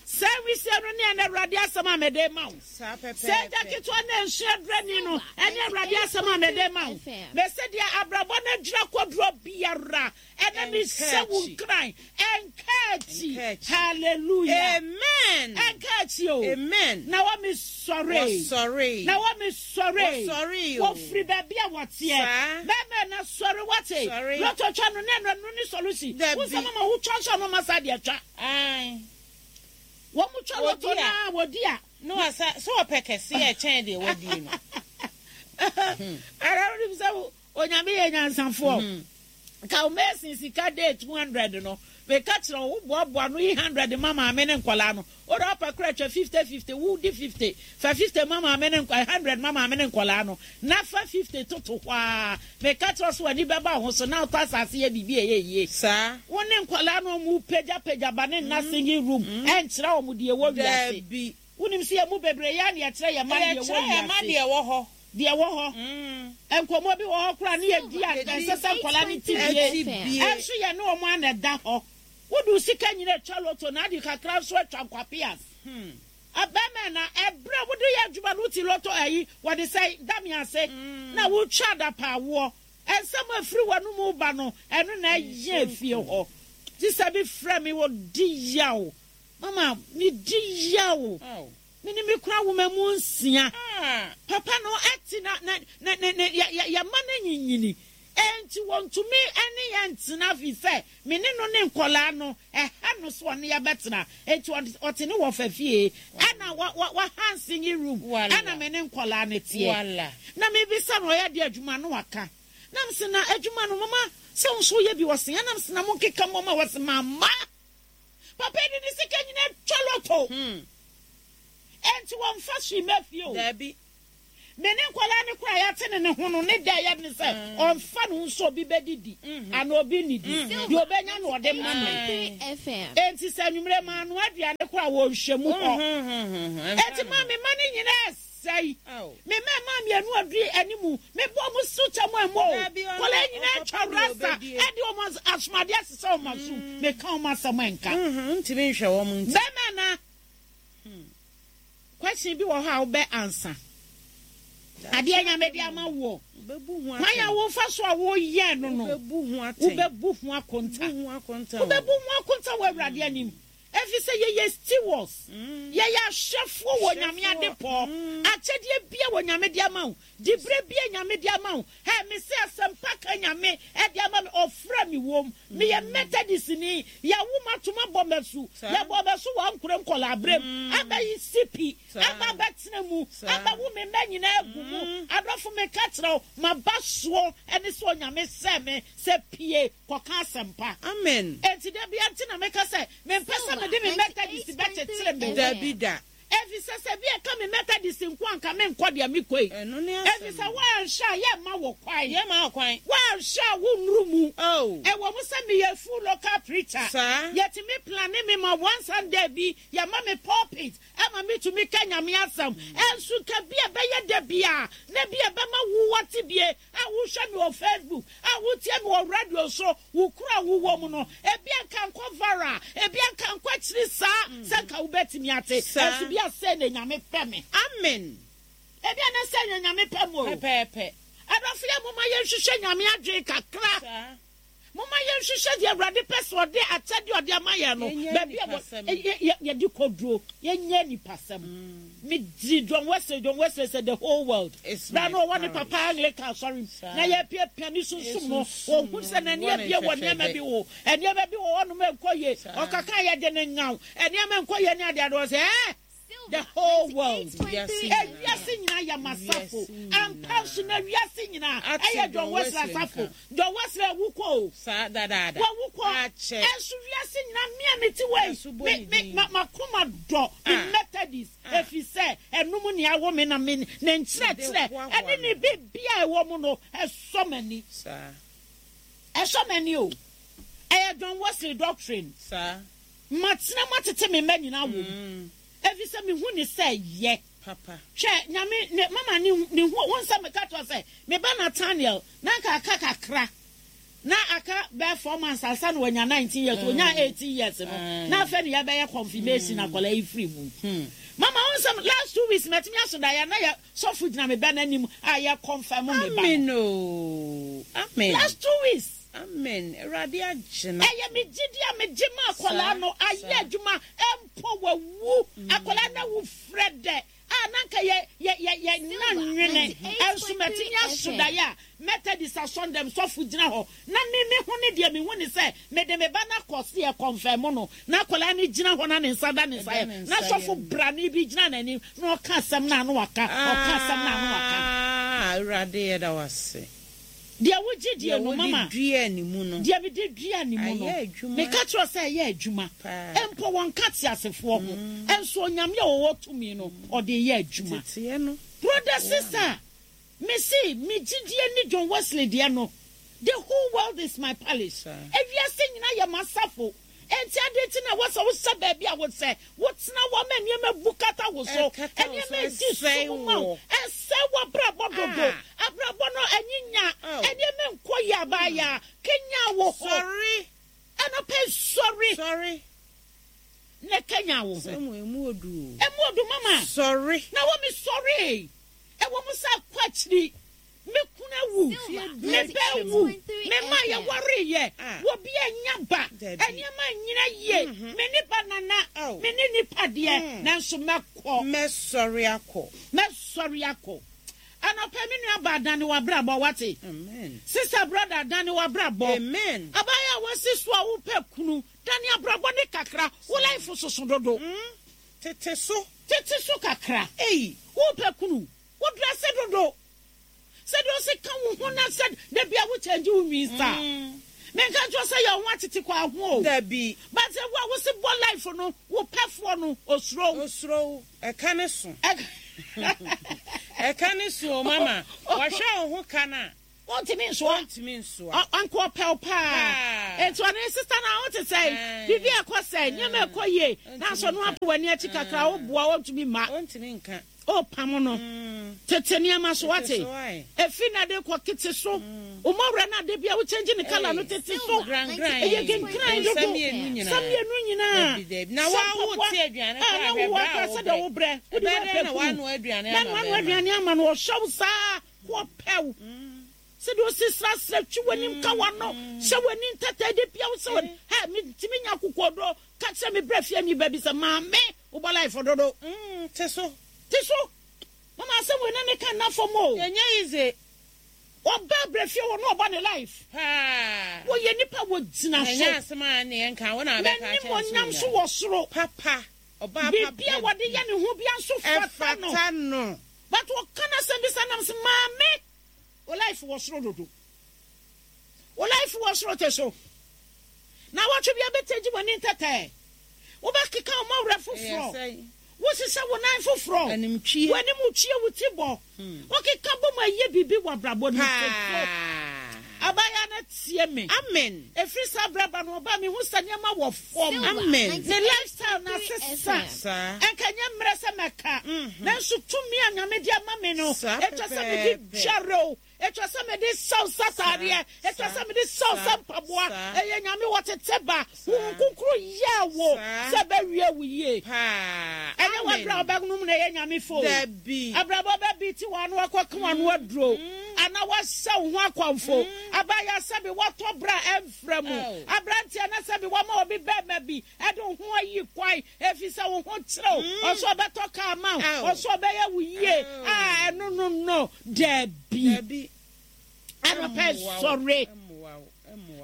S1: Saa nwisie no ne ɛnɛ Awurade asɛm a mede rema wo. Saa agya ketewa no a nsu adurani no ne Awurade asɛm a mede rema wo. Mese deɛ abrabɔ no adwira kɔdurɔ biara, Ɛnɛ me hyɛ wo nkuran. Ɛnka akyi. Hallelujah.
S2: Amen.
S1: Ɛnka akyi o.
S2: Amen.
S1: Na wɔ me sɔre.
S2: Wɔsɔre.
S1: Na wɔ me sɔre.
S2: Wɔsɔre o.
S1: Wɔfiri baabi a wɔteɛ.
S2: Saa.
S1: Bɛɛma na sɔre wate.
S2: Sɔre.
S1: Lotto twa no ne ɛno ɛno ne solution.
S2: Dabi.
S1: Wo nsɛm ama wo twa nso a na ɔma saa deɛ twa.
S2: Ae.
S1: Wɔn mo twa lotto
S2: Wɔdi a.
S1: naa wɔdi a.
S2: Na wasa sɛ ɔpɛ kɛseɛ ɛkyɛn deɛ wadie no.
S1: Ara wonim sɛ Onyame yɛ nyansafoɔ. Ka wo mason sika day 200 no, meka kyerɛ wo, wo boaboa no yi 100 ma maame ne nkwadaa no. Wode ɔpɛ koraa twa 50 50, wo di 50, fa 50 ma maame ne nkwadaa, 100 ma maame ne nkwadaa no, na fa 50 toto hɔ ara. Meka kyerɛ wo sɛ w'ani bɛba wo ho so na wotɔ asase yɛ biribi a ɛyɛ yie.
S2: Saa.
S1: Wo ne nkwadaa no wɔn pagya pagya ba ne nna singing room ɛnkyerɛ wɔn deɛ ɛwɔ wiase.
S2: Dabi.
S1: Wonim sɛ yɛn mu bebree yɛ a na yɛkyerɛ yɛn mma deɛ ɛwɔ
S2: Yɛkyerɛ yɛn mma
S1: wiase.
S2: deɛ ɛwɔ hɔ.
S1: Deɛ ɛwɔ hɔ. Nkɔmmɔ bi wɔ hɔ koraa ne yɛdi a ɛnsɛ sɛ nkwadaa no te bie. Ɛnso yɛne wɔn ara na ɛda hɔ. Wode wo sika nyina atwa lotto na ade kakra nso atwa nkwapeas. Bɛrima na ɛberɛ a wode yɛ adwuma no wote lotto ayi wɔde sɛ da me ase na wotwa adapaawoɔ. Nsɛm a ɛfiri w'anom reba no ɛno na ɛyɛ efie hɔ. Sista bi frɛ me ɔdi yaw. Mama medi yaw. Me ne me kunu awo mma mu nsia. Papa no te na na na na na yɛ yɛ yɛn mma no anyinyini. Enti wɔntumi ne yɛn ntena fi sɛ me ne no ne nkwadaa no ɛha no so ɔne yɛn bɛtena. Enti ɔde ɔte ne wɔfa fie ɛna wa wa wahan singing room ɛna me ne nkwadaa no teɛ. Na mebisa no ɔyɛ deɛ adwuma no waka. Na mese na adwuma no mama sɛ wo nso woyɛ bi ɔse ɛna mese na monkeka mmom a ɔse mamma. Papa yi de ne sika nyinaa twa lotto. Enti wɔmfa hwee mma fie o.
S2: Dabi.
S1: Me ne nkwadaa no koraa yɛate ne ne ho no, ne dɛ yɛ ne sɛ ɔmfa ne ho sɛ obi bɛdidi anaa obi nnidi. Deɛ ɔbɛnya no ɔde ma me. Enti sɛ anwummerɛ manoa aduane koraa a, wɔnhwɛ mu hɔ. Enti ma me mma no nyinaa sɛe. Me mma mmaa mmienu a ɔdi anim, mebɔ wɔn so kyɛ mo ɛmmɔ o. Nkwadaa nyinaa atwa rasta de wɔn asomadeɛ asesɛ wɔn aso. Meka wɔn asɛm ɛnka. Bɛrima anaa? Question bi wɔ hɔ a wobɛ ansa. Adeɛ Nyame de ama woɔ. Kwan a wofa so a woyɛ no no, wobɛbu ho akonta. Wobɛbu ho akonta wɔ Awurade anim. Ɛfiri sɛ yɛyɛ stewards, yɛyɛ ahwɛfoɔ wɔ Nyame adepɔ. Akyɛdeɛ bia wɔ Nyame de ama wo, diberɛ bia Nyame de ama wo. Hɛ, mese asɛmpa ka Nyame de ama me, ɔfrɛ me wom. Meyɛ Methodistni, yɛawo me atom abɔ me asu, yɛbɔɔ me asu wɔ ankorɛ nkɔlaa berɛ mu, abɛyi sipi, aba abɛtena mu, abɛwo me mma nyinaa agu mu. Adɔfo, meka kyerɛ wo, m'aba soɔ ne sɛ Onyame hyɛɛ me sɛ pue kɔka asɛmpa.
S2: Amen.
S1: Enti da biara nti na meka sɛ mempɛ sɛ mede me Methodist bɛkyekyere me ho.
S2: Dabi da.
S1: Efisɛ sɛ bi a ɛka me Methodist nko a, anka menkɔ deɛ mekɔ yi.
S2: Ɛno ne asɛm
S1: Efisɛ
S2: no.
S1: woanhwɛ a, yɛmma wo kwan.
S2: Yɛmma wo kwan.
S1: Woanhwɛ a, wonnuru mu.
S2: Oh.
S1: Ɛwɔ mu sɛ meyɛ full local preacher.
S2: Saa.
S1: Yɛtumi plane me ma one Sunday bi, yɛma me pulpit ma metumi ka Nyame asɛm. Ɛnso nka bi a ɛbɛyɛ da bi a, na bi a ɛbɛma wo woate bie a wohwɛ me wɔ Facebook, a wotie me wɔ radio so, wo kuro a wowɔ mu no, ebia nka nkɔ viral, ebia nka nkɔ akyiri saa sɛ nka wobɛtumi ate. Nanso bia sei na Nyame pɛ me.
S2: Amen.
S1: Ebia na sei na Nyame pɛ mo o.
S2: Pɛpɛɛpɛ.
S1: Adɔfo yɛ momma yɛnhwehwɛ Nyame adwene kakra.
S2: Saa.
S1: Momma yɛnhwehwɛ deɛ Awurade pɛ sɛ ɔde akyɛdeɛ a ɔde ama yɛn no,
S2: Yɛnyɛ
S1: baabi a
S2: nipasɛm.
S1: yɛde kɔduro. Yɛnyɛ nipasɛm. Medi John Wesley, John Wesley sɛ the whole world.
S2: It's
S1: Berɛ
S2: my
S1: a na ɔwɔ ne
S2: parish.
S1: papa Anglican asɔre mu,
S2: Saa.
S1: na yɛrepiapia ne sunsum no,
S2: Sunsum
S1: ɔhunu
S2: no,
S1: sɛ n'ani
S2: wɔ ne
S1: abue wɔ nneɛma
S2: nhwɛhwɛdɛ.
S1: bi ho. Nneɛma bi wɔ hɔnom a ɛnkɔ yie.
S2: Saa.
S1: Ɔkaka a yɛde no nnyaw. Nneɛma nkɔ yie ne adeade. Ɔsɛ, ɛɛ! The whole world.
S2: Wiase nyinaa.
S1: Ewiase nyinaa yɛ m'asafo.
S2: Wiase nyinaa.
S1: Ampa nso na wiase nyinaa
S2: Ate
S1: ɛyɛ John
S2: John
S1: Wesley
S2: Wesley
S1: asafo.
S2: nka.
S1: John Wesley awu kɔ o.
S2: Saa dadaada.
S1: Wawu kɔ.
S2: Akyɛ.
S1: Ɛnso wiase nyinaa me a mete wɔ yi,
S2: Ɛso bɔ
S1: me,
S2: ne
S1: me,
S2: din.
S1: ma, m'akoma dɔ me
S2: Ah.
S1: Methodist,
S2: Ah.
S1: ɛfiri sɛ ɛno mu nea awo me na me, ne nkyerɛkyerɛ
S2: Mede hoahoa
S1: ɛne ne
S2: me ho.
S1: biribiara a ɛwɔ mu no, ɛsɔ m'ani.
S2: Saa.
S1: Ɛsɔ m'ani o. Ɛyɛ John Wesley doctrine.
S2: Saa.
S1: Matena mu atete me mma nyinaa wɔ mu, efisɛ mehu no sɛ ɛyɛ.
S2: Papa.
S1: Hwɛ, Nyame, ne, mama ne, ne hu, wohu sɛ meka kyerɛ wo sɛ, me ba Nathaniel, na anka aka kakra, na aka bɛyɛ 4 months ansa na wanya 19 years, onyaa 18 years no, na afei na yɛbɛyɛ confirmation akwadaa yi firi mu. Mama, wohu sɛ last 2 weeks matumi aso daeɛ a na yɛ sɔfo gyina me ba no anim a yɛ confirm me ba no.
S2: Amen oo, amen.
S1: Last 2 weeks.
S2: Amen Awurade agye no.
S1: Ɛyɛ me gyidi a megye ma akwadaa no ayɛ adwuma mpo wawu akwadaa no awu frɛ dɛ a na nka yɛ yɛ yɛ yɛ nna nwene ɛnso matumi aso daeɛ a Methodist asɔndɛm sɔfo gyina hɔ na me me ho ne deɛ mehu ne sɛ mede me ba no akɔ se yɛ kɔnfɛm no na akwadaa no gyina hɔ na ne nsa da ne nsa yɛ na sɔfo brane bi gyina n'anim na ɔka asɛm no a na waka ɔka asɛm no a na waka.
S2: Ah Awurade yɛda wo ase.
S1: Deɛ wogye die
S2: Deɛ
S1: no,
S2: wode
S1: mama.
S2: duaa ne mu no.
S1: Deɛ mede duaa ne mu no.
S2: Ayɛ adwuma.
S1: Meka kyerɛ wo sɛ ɛyɛ adwuma.
S2: Paa.
S1: Mpo wɔnka teasefoɔ ho. Nso Onyame a ɔwɔ tumi no, ɔde reyɛ adwuma.
S2: Teteɛ no.
S1: Brother, sister, mese me gyidie ne John Wesley deɛ no, The whole world is my palace. Ewiase nyinaa yɛ m'asafo. Enti adɛn nti na ɛwɔ sɛ wohyɛ baabi a wosɛ wotena hɔ ma nneɛma bu kata wo so, nneɛma edi sum ma wo, ɛsɛe w'abrabɔ dodo, abrabɔ no anyinya, nneɛma nkɔ yie abaayaa, kanyan wo ho.
S2: Sɔre.
S1: Anɔpa yi sɔre.
S2: Sɔre.
S1: Na kanyan wo ho.
S2: Sɛ mo emu odu o.
S1: Emu odu mama.
S2: Sɔre.
S1: Na wɔ me sɔre. Ɛwɔ mu sɛ akɔ akyiri. Me kunu awu, me ba awu, me mma a yɛwareeɛ, obi annya ba, nneɛma annyina yie, me ne banana, me ne nnipa deɛ, nanso mɛkɔ.
S2: Mɛsɔre akɔ.
S1: Mɛsɔre akɔ. Anɔpa yi, me nua baa, dane w'abrabɔ, wate? Sista, brɔda, dane w'abrabɔ. Abaayewa a woasi so a wopɛ kunu, dane abrabɔ ne kakra. Wo life soso dodo.
S2: Tete so.
S1: Tete so kakra. Wopɛ kunu, Wo dresse dodo. Sɛdeɛ ɔsi ka wo ho na sɛ da bia wo change wo nwi style. Menka nkyerɛ wo sɛ yɛ wo ho atete kɔ aho o.
S2: Dabi.
S1: But sɛ wo a wosi bɔ life no wo pɛfoɔ no osuro wo.
S2: Osuro wo. Ɛka ne so. Ɛka ne so o mama. Wɔhwɛ wo ho ka no a.
S1: Ɔntumi nsoa.
S2: Ɔntumi nsoa.
S1: Anka ɔpɛ wo paa. Enti ɔne ne sista no a wote sɛn? Biribi ɛkɔ sɛn? Nneɛma ɛkɔ yie. Nanso ɔno apo w'ani akyi kakra woboa ɔntumi mma.
S2: Ɔntumi nka.
S1: Ɔpam no. Tete nneɛma so wate. Efi na de kɔ kete so. Wo mmɔwerɛ no ade bia wo change ne colour no tete so. Ɛyɛ genkran dodo. Nsa mmienu nyinaa.
S2: Na
S1: Sɛ
S2: wo
S1: mpaboa.
S2: te aduane
S1: Ah,
S2: koraa
S1: na
S2: hwɛ
S1: wo
S2: bra a
S1: akora
S2: wo
S1: sɛdeɛ
S2: brɛ.
S1: wo brɛ. Wode
S2: Ɛbɛyɛ dɛn
S1: woapɛ
S2: na
S1: kunu.
S2: woanoa aduane
S1: Na
S2: ama
S1: noanoa
S2: bɛrima?
S1: aduane ama no ɔhyɛ wo saa ko ɔpɛ wo. Sɛdeɛ ɔsi srasra twi w'anim ka w'ano hyɛ w'ani ntɛtɛ de pia wo sɛ wɔ hɛ metumi nya akokoɔduro ka kyerɛ me brɛ fie ni ba bi sɛ maame wobɔ life dodo.
S2: Te so.
S1: Te so. Mama asɛm wei na ne ka nna fam o.
S2: Ɛnyɛ easy.
S1: Ɔba brɛ fie hɔ na ɔbɔ ne life.
S2: Paa.
S1: Wɔyɛ nipa wɔ gyina so.
S2: Ɛnyɛ asɛm a ne yɛn ka wo na abɛka akyerɛ nso
S1: N'animuonyam nso wɔ soro.
S2: Papa. Ɔbaa papa.
S1: Biribi a wɔde yɛ ne ho bia nso fata no.
S2: Ɛfata no.
S1: But ɔka n'asɛm bi sɛ nam sɛ maame wo life wɔ soro dodo. Wo life wɔ soro te so. Na wɔtwe bi abɛtɛgye w'ani ntɛtɛ. Wobɛkeka wo mɔwerɛ foforɔ. Wosesa wo nan foforɔ.
S2: Animtwie.
S1: W'anim twie wo ti bɔ. Wokeka bɔ mu ayɛ biribi wɔ abrabɔ no mu. Abaayewa no tie me.
S2: Amen.
S1: Ɛfiri saa berɛ ba no ɔbaa mehu sɛ nneɛma wɔ fam.
S2: Amen.
S1: Ne lifestyle no asesa.
S2: Saa.
S1: Ɛnka nyɛ mmerɛ sɛ mɛka. Nanso tumi a Nyame de ama me no,
S2: Saa
S1: ɛtwa sɛ mede
S2: pɛpɛɛpɛ.
S1: dware o. Ɛtwa sɛ mede sɛw sɛ ataadeɛ. Ɛtwa sɛ mede sɛw sɛ mpaboa. Ɛyɛ Nyame wɔtete ba. Honhom Kronkron yɛɛ wo sɛ bɛwie wo yie.
S2: Paa.
S1: Ɛnyɛ w'abrɛ a wobɛnom na ɛyɛ Nyame fɛ o.
S2: Dabi.
S1: Abrabɔ bɛbi ti w'ano akɔka w'ano aduro. Anaa woahyɛ wo ho akɔmfo. Abaayewa sɛbi woatɔ bra a ɛmfra mu. Aberanteɛ na sɛbi woama obi bɛɛma bi ɛde wo ho ayi kwan ɛfiri sɛ wo ho kyerɛ wo. Ɔsɛ ɔbɛtɔ kaa ma wo. Ɔsɛ ɔbɛyɛ wo yie. A ɛno no no. Dabi.
S2: Dabi.
S1: Anɔpa sɔre.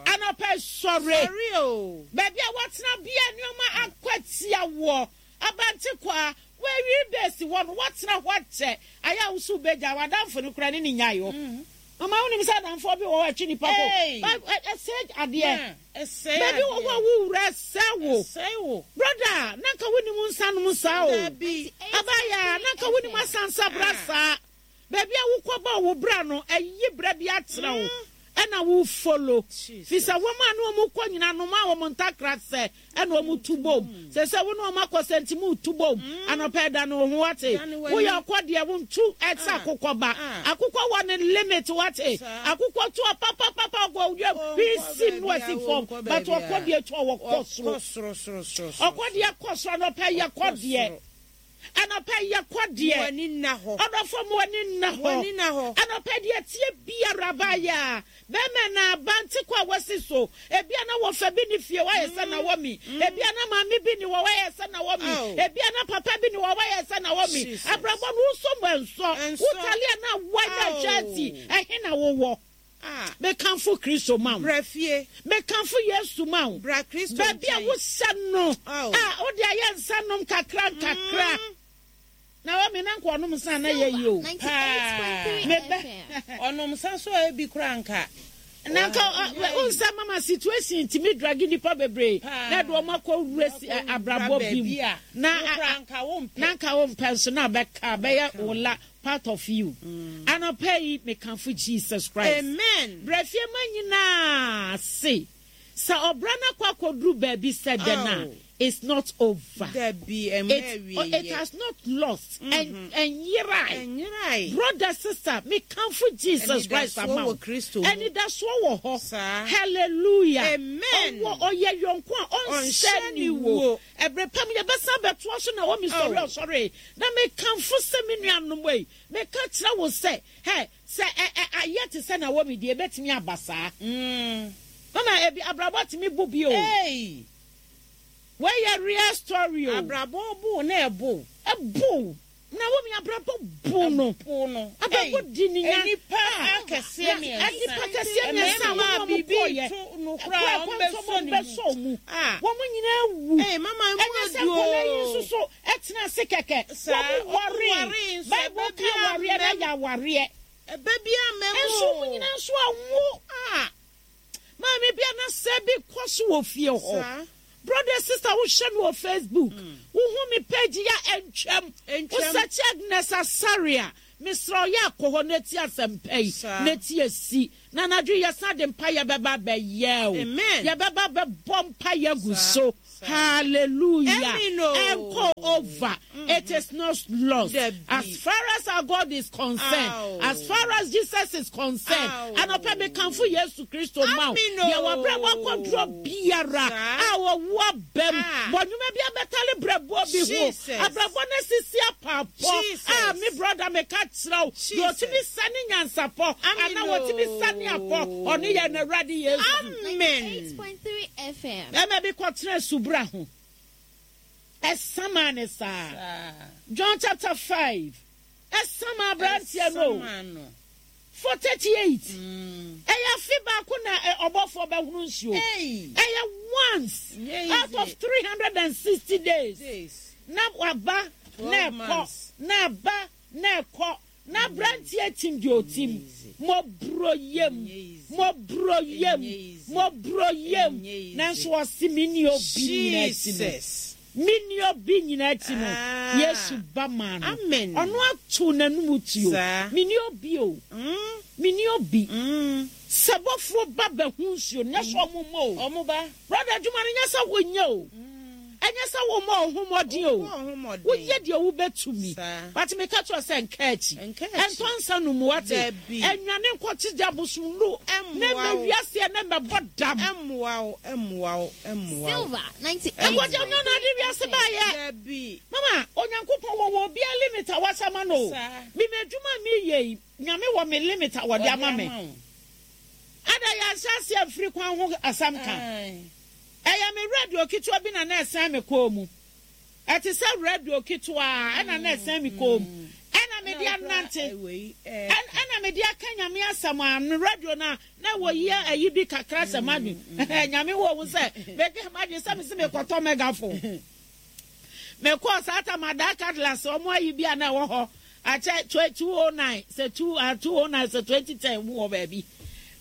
S1: Anɔpa sɔre.
S2: Sɔre o.
S1: Baabi a wɔtena bia nneɛma akɔ atia woɔ. Abante kwa wɔawie bɛsi hɔ no wɔtena hɔ akyɛ. Ayɛ a wosu bɛgya w'adamfo no kora ne ne nyae hɔ. Mama wonim sɛ adamfoɔ bi wɔ hɔ akyi nipa ko. Ɛsɛ adeɛ. Baabi wɔ hɔ a wowura ɛsɛ wo.
S2: Ɛsɛe wo.
S1: Brother, na nka wonim nsa nom saa o.
S2: Dabi.
S1: Abaya, na nka wonim asansa bra saa. Baabi a wokɔbɔ wo bra no, ɛyi bra bi akyerɛ wo. Ɛna wo follow. Fi sɛ wɔn a ne wɔn kɔ nyina no ma wɔn ntakra sɛ ɛna wɔn tu bom. Sɛ sɛ wo ne wɔn akɔ sɛ nti mu tu bom. Anɔpɛ da no ho wate. Woyɛ ɔkɔ deɛ wo ntu ɛsɛ akokɔ ba. Akokɔ wɔ ne limit wate. Akokɔ tu ɔpapapapa ɔkɔ wiem. Hwii no asi fam. But ɔkɔ deɛ tu ɔwɔ kɔ soro.
S2: Soro soro soro.
S1: Ɔkɔ deɛ kɔ soro anɔpɛ yɛ kɔ deɛ. Anɔpɛ yɛ kɔ deɛ.
S2: W'ani nna hɔ.
S1: Ɔdɔfo mu w'ani nna hɔ.
S2: W'ani nna hɔ.
S1: Anɔpɛ deɛ tie biara baayɛ a bɛrima na abante kɔ a wasi so. Ebia na wɔfa bi ne fie wayɛ sɛ na wɔ mi. Ebia na maame bi ni wɔ wayɛ sɛ na wɔ mi. Ebia na papa bi ni wɔ wayɛ sɛ na wɔ mi.
S2: Jesus.
S1: Abrabɔ no wosɔ mu ɛnsɔ.
S2: Ɛnsɔ.
S1: Wotali a na wa na hwɛ ati. Ɛhe na wowɔ?
S2: Ah.
S1: Mekamfo Kristo ma wo.
S2: Bra fie.
S1: Mekamfo Yesu ma wo.
S2: Bra Kristo
S1: Baabi a
S2: nkyɛn.
S1: wohyɛ no
S2: Aw.
S1: a wode ayɛ nsa nom kakra nkakra. Na wɔ me na nka ɔnom nsa na yɛ yi o.
S2: Paa.
S1: Mebɛ.
S2: Ɔnom nsa so a ebi kora nka.
S1: Na nka wo nsa mama situation ntumi drag nipa bebree
S2: Paa.
S1: na de wɔn akɔ wura si abrabɔ bi mu.
S2: Baabi a
S1: Na
S2: wo kora nka wo mpɛ.
S1: na nka wo mpɛ nso na bɛka bɛyɛ wo la part of you. Anɔpa yi mekamfo Jesus Christ.
S2: Amen.
S1: Brɛfie ma nyinaa se sɛ ɔbra no akɔ akɔduru baabi sɛ dɛn a
S2: Oh.
S1: it's not over.
S2: Dabi ɛmɛ
S1: It,
S2: awie
S1: it has not lost. And ɛnyerae.
S2: Ɛnyerae.
S1: Brother, sister, mekamfo Jesus Christ
S2: Anidasoɔ
S1: ama wo.
S2: wɔ Kristo mu.
S1: Anidasoɔ wɔ hɔ.
S2: Saa.
S1: Hallelujah.
S2: Amen.
S1: Ɔwɔ ɔyɛ yɔnko a ɔnhyɛ
S2: Ɔnhyɛ
S1: ne
S2: ne
S1: wo.
S2: wo.
S1: Ɛberɛ pam yɛbɛsan bɛtoa so na wɔ me sɔre
S2: Oh.
S1: ɔsɔre. Na mekamfo sɛ me nuanom yi, meka kyerɛ wo sɛ, hɛ, sɛ ɛ ɛ ayɛ te sɛ na wɔ me deɛ ebɛtumi aba saa. Mama ebi abrabɔ tumi bu bi o.
S2: Hey.
S1: Wɔyɛ real story o.
S2: Abrabɔ bu na ɛbo.
S1: Ɛbo. Na wɔ me abrabɔ bu no.
S2: Bu no.
S1: Abrabɔ di ne nya.
S2: Nipa akɛseɛ mmiɛnsa.
S1: Nipa kɛseɛ mmiɛnsa a
S2: Mmarima
S1: wɔn a
S2: biribi
S1: wɔkɔɔyɛ.
S2: to no koraa wɔn bɛsɔ ne mu.
S1: bɛsɔ mu.
S2: Ah.
S1: Wɔn nyinaa wu.
S2: Ee, mama emu
S1: Ɛnyɛ sɛ
S2: adu o.
S1: nkɔla yi nso so ɛtena ase kɛkɛ.
S2: Saa,
S1: Wɔn
S2: wɔn
S1: waree.
S2: waree nso,
S1: Bible
S2: ɛbɛ
S1: ka
S2: bi
S1: awareɛ na
S2: amam.
S1: yɛ awareɛ.
S2: Ɛbɛ bi amam
S1: Nso
S2: o.
S1: wɔn nyinaa nso awo.
S2: Ah.
S1: Maame bi anasɛ bi kɔ so wɔ fie hɔ.
S2: Saa.
S1: Brother sister wohwɛ me wɔ Facebook. Wohu me page ya ɛntwam.
S2: Ɛntwam.
S1: Wosɛkye Agnes Asare a. Mesrɛ wo yɛ kɔ hɔ na tie asɛmpa yi na tie si. Na anadwo yi yɛsan de mpaeɛ bɛba abɛyɛ o. Yɛbɛba abɛbɔ mpaeɛ agu so. Hallelujah. Ɛnkɔ over. It is not lost. As far as our God is concerned, as far as Jesus is concerned, anɔpa mekamfo Yesu Kristo ma wo. Deɛ wabrabɔ akɔdurɔ biara a ɔwu abam, bɔ nnwuma bi abɛtale brɛboɔ bi ho, abrabɔ no asisi apaapɔ a me brɔda meka kyerɛ wo, deɛ ɔtumi sane nyansapɔ anaa wɔtumi sane apɔ, ɔno yɛ Awurade Yesu.
S2: Amen.
S1: Bɛrima bi kɔtena subura ho. Ɛsamaa ne saa. John chapter 5. Ɛsamaa aberanteɛ no. For 38. Ɛyɛ afe baako na ɔbɔfoɔ bɛhono nsuo. Ɛyɛ once out of 360 days. Na waba na ɛkɔ na aba na ɛkɔ. Na aberanteɛ tim deɛ ɔtim. Mmɔborɔ yam, mmɔborɔ yam, mmɔborɔ yam. Nanso ɔse menni obi nyina akyi no. Menni obi nyina akyi no. Yesu ba maa no. Ɔno ato n'anum tuo. Menni obi o. Menni obi. Sɛ bɔfoɔ ba bɛho nsuo no, nyɛ sɛ ɔmo mmɔ o. Brother, adwuma no nyɛ sɛ wonyɛ o. Ɛnyɛ sɛ wommɔ wo ho mmɔden o. Woyɛ deɛ wobɛtumi. But meka kyerɛ wo sɛ nka akyi. Ɛntɔ nsa no mu, wate? Ɛnwane nkɔkye gya bosomnuru na ɛmmɛ wiase ɛ na ɛmmɛbɔ dam. Ɛnkɔgya nyɛ ɔno ade wiase baayɛ. Mama, Onyankopɔn wɔwɔ obiara limit a wahyɛ ama no o. Me m'adwuma a meyɛ yi, Nyame wɔ me limit a wɔde ama me. Ada yɛanhyɛ aseɛ amfiri kwan ho asɛm ka. Ɛyɛ me radio ketewa bi na na ɛsɛn me kɔn mu. Ɛte sɛ radio ketewa ɛna na ɛsɛn me kɔn mu. Ɛna mede anante. Ɛna mede aka Nyame asɛm a me radio no a na wɔyi ayi bi kakra sɛ m'adwene. Nyame wɔ ho sɛ meka m'adwene sɛ mese mekɔtɔ megaphone. Mekɔɔ saa tam adaa Cutlass wɔn ayi bi a na ɛwɔ hɔ akyɛ 209 sɛ 209 sɛ 2010 mu wɔ baabi.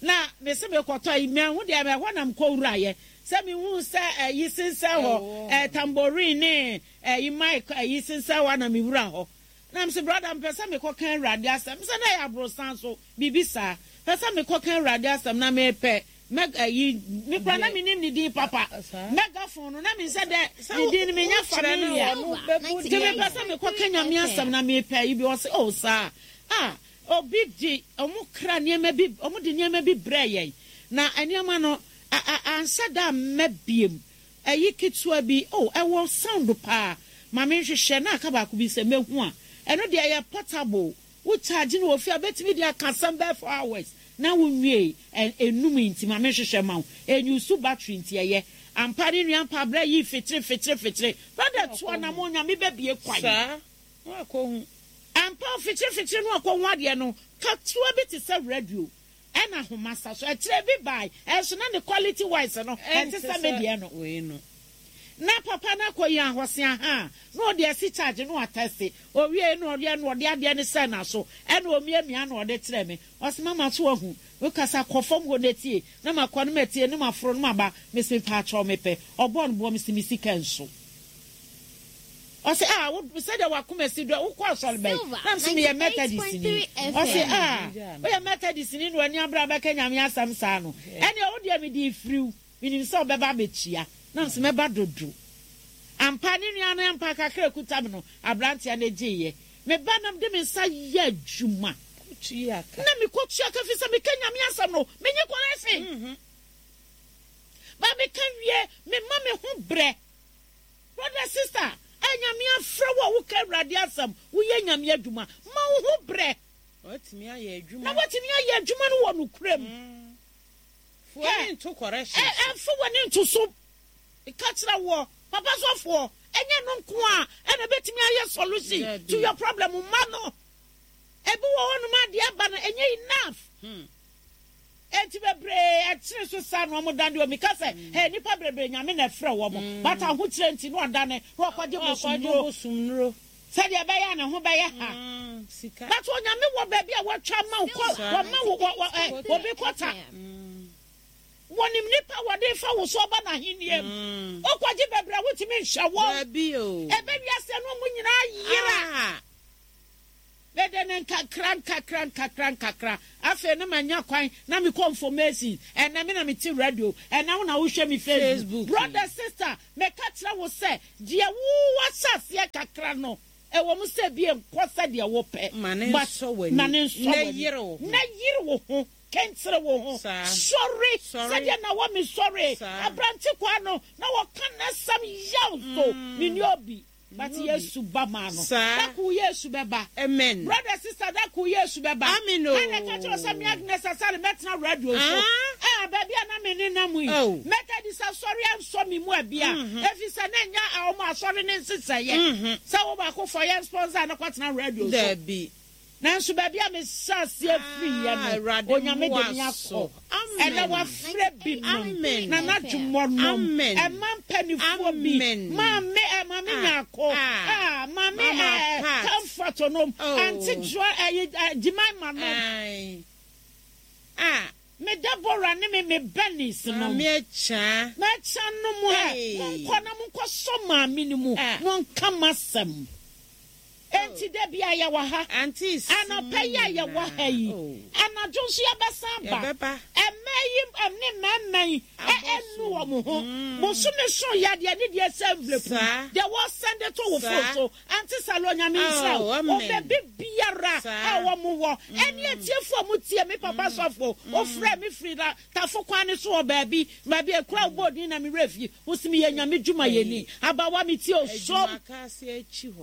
S1: Na mese mekɔtɔ yi mahu deɛ ɛhɔ na mekɔ wuraeɛ sɛ mehu sɛ ɛyi sensɛn hɔ ɛɛ tambourine ne ɛyi mic ɛyi sensɛn hɔ na mewura hɔ. Na mese brother mepɛ sɛ mekɔka Awurade asɛm sɛ na ɛyɛ aborosan so biribi saa pɛ sɛ mekɔka Awurade asɛm na mepɛ Mɛg ayi me koraa na menim ne din papa. Megaphone no na me sɛ dɛ ne din no menya familiar. Nti mepɛ sɛ mekɔka Nyame asɛm na mepɛ ayi bi ɔse oh saa ah obi de ɔmo kra nneɛma bi ɔmo de nneɛma bi brɛɛ yɛn na nneɛma no a a anhyɛ da amma biem ayi ketewa bi oh ɛwɔ sound paa ma menhwehwɛ na aka baako bi sɛ mɛhu a ɛno deɛ ɛyɛ portable Wo charge no wɔ fie a wobɛtumi de aka asɛm bɛyɛ 4 hours na wo nwiei ɛ ɛnum nti ma me nhwehwɛ ma wo ɛnyusu battery nti ɛyɛ ampa ne nua ampa abrɛ yii fekyere fekyere fekyere brother tu anamon Nyame bɛbie kwan
S2: Saa na wakɔ hu.
S1: Ampa o fekyere fekyere no akɔ hu adeɛ no ketewa bi te sɛ radio ɛna ahoma sa so ɛkyerɛ bi bae ɛnso na ne quality wise no ɛnte sɛ me deɛ no. Na papa no akɔyi ahɔse ahaa na ɔde asi charge na watɛste owiei na ɔyɛ na ɔde adeɛ no sɛɛ n'aso ɛna ɔmiamia na ɔde kyerɛɛ me ɔse mama so wahu wokasa kɔ fam hɔ na tie na makɔ na matie na maforo na maba mese mepaakyɛw mepɛ ɔbɔɔ no boɔ mese me sika nso ɔse ah wo sɛdeɛ wakoma si dɔ wokɔ asɔre bɛn na mese meyɛ Methodist ni ɔse ah woyɛ Methodist ni na w'ani abere abɛka Nyame asɛm saa no ɛneɛ wo deɛ mede firiw Menim sɛ ɔbɛba abɛtua. Na mese mɛba dodo. Ampa, ne nua no ampa kakra a ɛkuta me no, aberanteɛ no gyeeɛ. Me ba na mede me nsa yɛ adwuma. Na mekɔtua ka firi sɛ meka Nyame asɛm no, menye kɔrɛhyen. Ba meka wie, mema me ho brɛ. Brother, sister, a Nyame afrɛ wo a woka Awurade asɛm, woyɛ Nyame adwuma, ma wo ho brɛ.
S2: Na woatumi
S1: ayɛ adwuma no wɔ nokorɛ mu.
S2: Fa w'ani nto correction so.
S1: Ɛ, mfa w'ani nto so. Meka kyerɛ woɔ, papa sɔfoɔ, ɛnyɛ ɛno nko a ɛna ɛbɛtumi ayɛ solution to your problem. Mma no. Ebi wɔ hɔnom a deɛ ɛba no ɛnyɛ enough. Hmm. Enti bebree ɛkyere so saa na wɔn dane omi ka sɛ, hmm. hey, nipa bebree Nyame na ɛfrɛ wɔn. Hmm. But ahokyerɛ nti na ɔdane na ɔkɔgye bosomnuro. Sɛdeɛ ɛbɛyɛ a ne ho bɛyɛ ha. But Onyame wɔ baabi a watwa ama wo kɔ, wama wo wɔ wɔ ɛ obi kɔta. Wɔnim nipa a wɔde fa wo so aba n'ahennie mu. Wokɔgye bebree a wontumi nhwɛ wɔn. Ɛbɛ wiase no wɔn nyinaa yera. Mede ne nka Nkakra nkakra nkakra nkakra, afei na manya kwan na mekɔ information. Ɛnnɛ me na mete radio, ɛnnɛ wo na wohwɛ me Facebook. Brother, sister, meka kyerɛ wo sɛ, deɛ wo woahyɛ aseɛ kakra no, ɛwɔ mu sɛ ebia ɛnkɔ sɛdeɛ wopɛ,
S2: Ma no
S1: but
S2: nsɔ w'ani,
S1: ma no nsɔ
S2: na
S1: w'ani,
S2: yere wo ho.
S1: na yere wo ho, kenkyere wo ho, sɔre sɛdeɛ Naomi sɔree, aberante kwaa no, na wɔka n'asɛm yaw so, menni obi. But Yesu ba maa no. Da koro Yesu bɛba.
S2: Amen.
S1: Brother sister da koro Yesu bɛba.
S2: Amen o.
S1: Hwan na ɛka kyerɛ wo sɛ me Agnes Asare mɛtena radio so? Ah, baabi a na me nenam yi. Methodist asɔre ansɔ me mu abia. Efisɛ na ɛnyɛ wɔn asɔre no nhyehyɛeɛ sɛ wo baako fɔ yɛn sponsor na kɔtena radio so.
S2: Dabi.
S1: Nanso baabi a mehyɛɛ aseɛ firiiɛ
S2: Ah,
S1: no,
S2: Awurade
S1: Onyame de
S2: mmoa
S1: me akɔ.
S2: so.
S1: Ɛnɛ
S2: Amen.
S1: wafrɛ binom,
S2: Amen.
S1: Nana Dwomɔ nom,
S2: Amen.
S1: ɛma mpanifoɔ bi,
S2: Amen.
S1: Maame ɛ, Maame
S2: Ah,
S1: Nyarko,
S2: ah,
S1: ah, Maame
S2: Mama
S1: ɛ,
S2: Pat.
S1: Comfort nom,
S2: Oh.
S1: Auntie Joa ɛyi ɛ, Jemima nom.
S2: Ae. Ah.
S1: Me Deborah ne me me Bernice nom.
S2: Maame Akyaa.
S1: M'akya nom ɛ,
S2: Hey.
S1: monkɔ na monkɔ sɔ maame no mu,
S2: Ah.
S1: monka m'asɛm. Enti da biara yɛwɔ ha. Anɔpa yi a yɛwɔ ha yi, anadwo nso yɛbɛsan aba. Mmaa yi ne mmarima yi ɛnnu wɔn ho. Bosome so yadeɛ ne deɛ sɛ envelope mu, deɛ wɔsɛnde to wo phone so. Auntie Salo, Nyame nhyira wo. Wɔ baabi biara a wɔn wɔ. Ɛne atiefo a wɔtie me papa sɔfo, wofrɛ me firi Tafo kwan no so wɔ baabi, baabi a ekura wo bɔɔ din na me werɛ fi. Wo se meyɛ Nyame dwumayɛni. Abawa me tie o, som.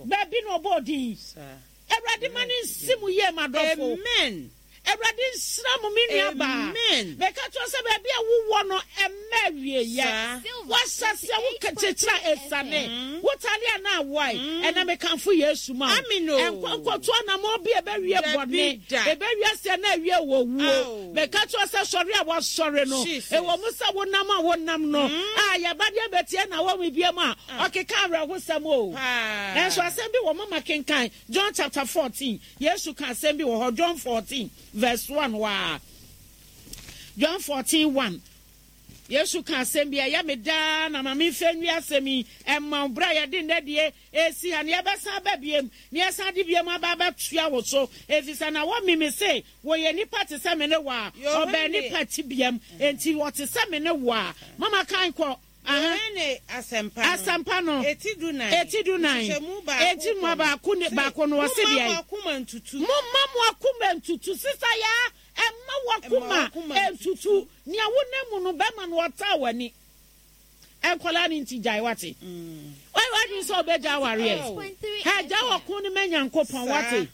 S1: Baabi na ɔbɔɔ din. Awurade ma no nsi mo yie m'adɔfo.
S2: Amen.
S1: Awurade nhyira mo me nua baa.
S2: Amen.
S1: Meka kyerɛ wo sɛ baabi a wowɔ no ɛmma awieɛ. Woahyɛ aseɛ wo kyekyere a ɛsane. Wo tare a na awae. Ɛnɛ mekamfo Yesu ma wo.
S2: Amen o.
S1: Ɛnkɔ nkɔto anamɔn bi a ɛbɛwie
S2: Dabi
S1: bɔne.
S2: da.
S1: Ɛbɛwie aseɛ na awie wɔ wuo.
S2: Ao.
S1: Meka kyerɛ wo sɛ sɔre a woasɔre no,
S2: Jesus.
S1: ɛwɔ mu sɛ wonam a wonam no, a yɛba deɛ bɛtie na wɔn biam a, ɔkeka awerɛhosɛm o.
S2: Paa.
S1: Nanso asɛm bi wɔ mama kenkan John chapter 14. Yesu ka asɛm bi wɔ hɔ, John 14 verse 1 hɔ a. John 14 1. Yesu ka asɛm bi a ɛyɛ me daa na ma memfa nwie asɛm yi mma wo. Berɛ a yɛde nnɛ deɛ resi ha no, yɛbɛsan aba biom, na yɛsan de biom aba abɛtoa wo so, ɛfiri sɛ na wɔme me se wɔyɛ nnipa te sɛ me ne wo a, ɔbɛn nnipa tebeam, enti wɔte sɛ me ne wo a. Mama kan kɔ. Aha.
S2: Yohane Asɛmpa no,
S1: Asɛmpa no,
S2: eti dunan,
S1: eti dunan,
S2: nkyekyɛmu baako
S1: eti
S2: kɔ no,
S1: baako ne
S2: se,
S1: baako no, ɔse
S2: Momma
S1: deɛn?
S2: mo akoma ntutu.
S1: Momma mo akoma ntutu. Sista Yaa, Mma w'akoma ntutu. Nea wonam mu no, bɛma no ɔtaa w'ani. Nkwadaa no nti gyae wate. Wayɛ w'adwene sɛ wobɛgya awareɛ. Hɛ, gya ɔko no ma Nyankopɔn wate.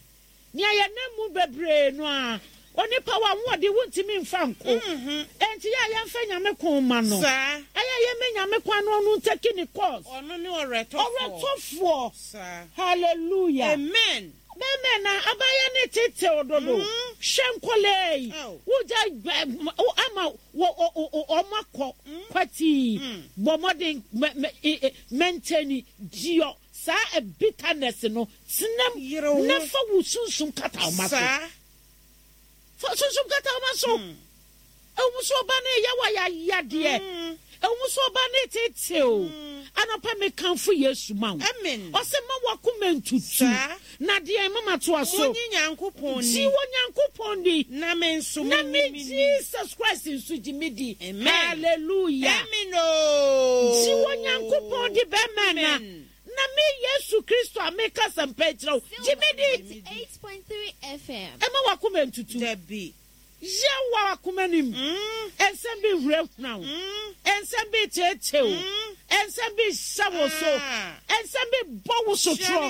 S1: Nea yɛnam mu bebree no ara, onipa w'ahoɔden wontumi mfa nko. Enti yɛ a yɛmfa Nyame ko mma no. Ɛyɛ a yɛmma Nyame kwan na ɔno ntaki ne course.
S2: Ɔno ne ɔwerɛtɔfoɔ.
S1: Ɔwerɛtɔfoɔ. Hallelujah.
S2: Amen.
S1: Bɛmɛ na abayɛ ne tetew dodo. Hwɛ nkɔlaa yi. Wogya ama wɔn akɔ kwatii. Bɔ mmɔden mɛntɛni diɔ saa bitterness no. Tenam na fa wo sunsum kata wo ma so. Fa sunsum kata wo ma so. Ɛwom sɛ ɔba no reyɛ wo ayayadeɛ. Ɛwom sɛ ɔba no reteetee wo. Anɔpa mekamfo Yesu ma wo.
S2: Amen.
S1: Ɔse mma w'akoma ntutu.
S2: Saa.
S1: Na deɛn? Mama toa so.
S2: Monye Nyankopɔn
S1: Gye
S2: ni.
S1: Onyankopɔn di.
S2: Na me nso
S1: Na
S2: monye
S1: me
S2: me ni.
S1: Jesus Christ nso gye me di.
S2: Amen.
S1: Hallelujah.
S2: Amen oo.
S1: Gye Onyankopɔn di bɛrima na.
S2: Amen.
S1: Na me Yesu Kristo a meka asɛmpa yi kyerɛ wo, gye me di. Mma w'akoma ntutu.
S2: Dabi.
S1: Yɛ wɔ w'akoma no mu. Nsɛm bi rehurahura wo. Nsɛm bi reteetee wo. Nsɛm bi rehyɛ wo so. Nsɛm bi rebɔ wo sotorɔ.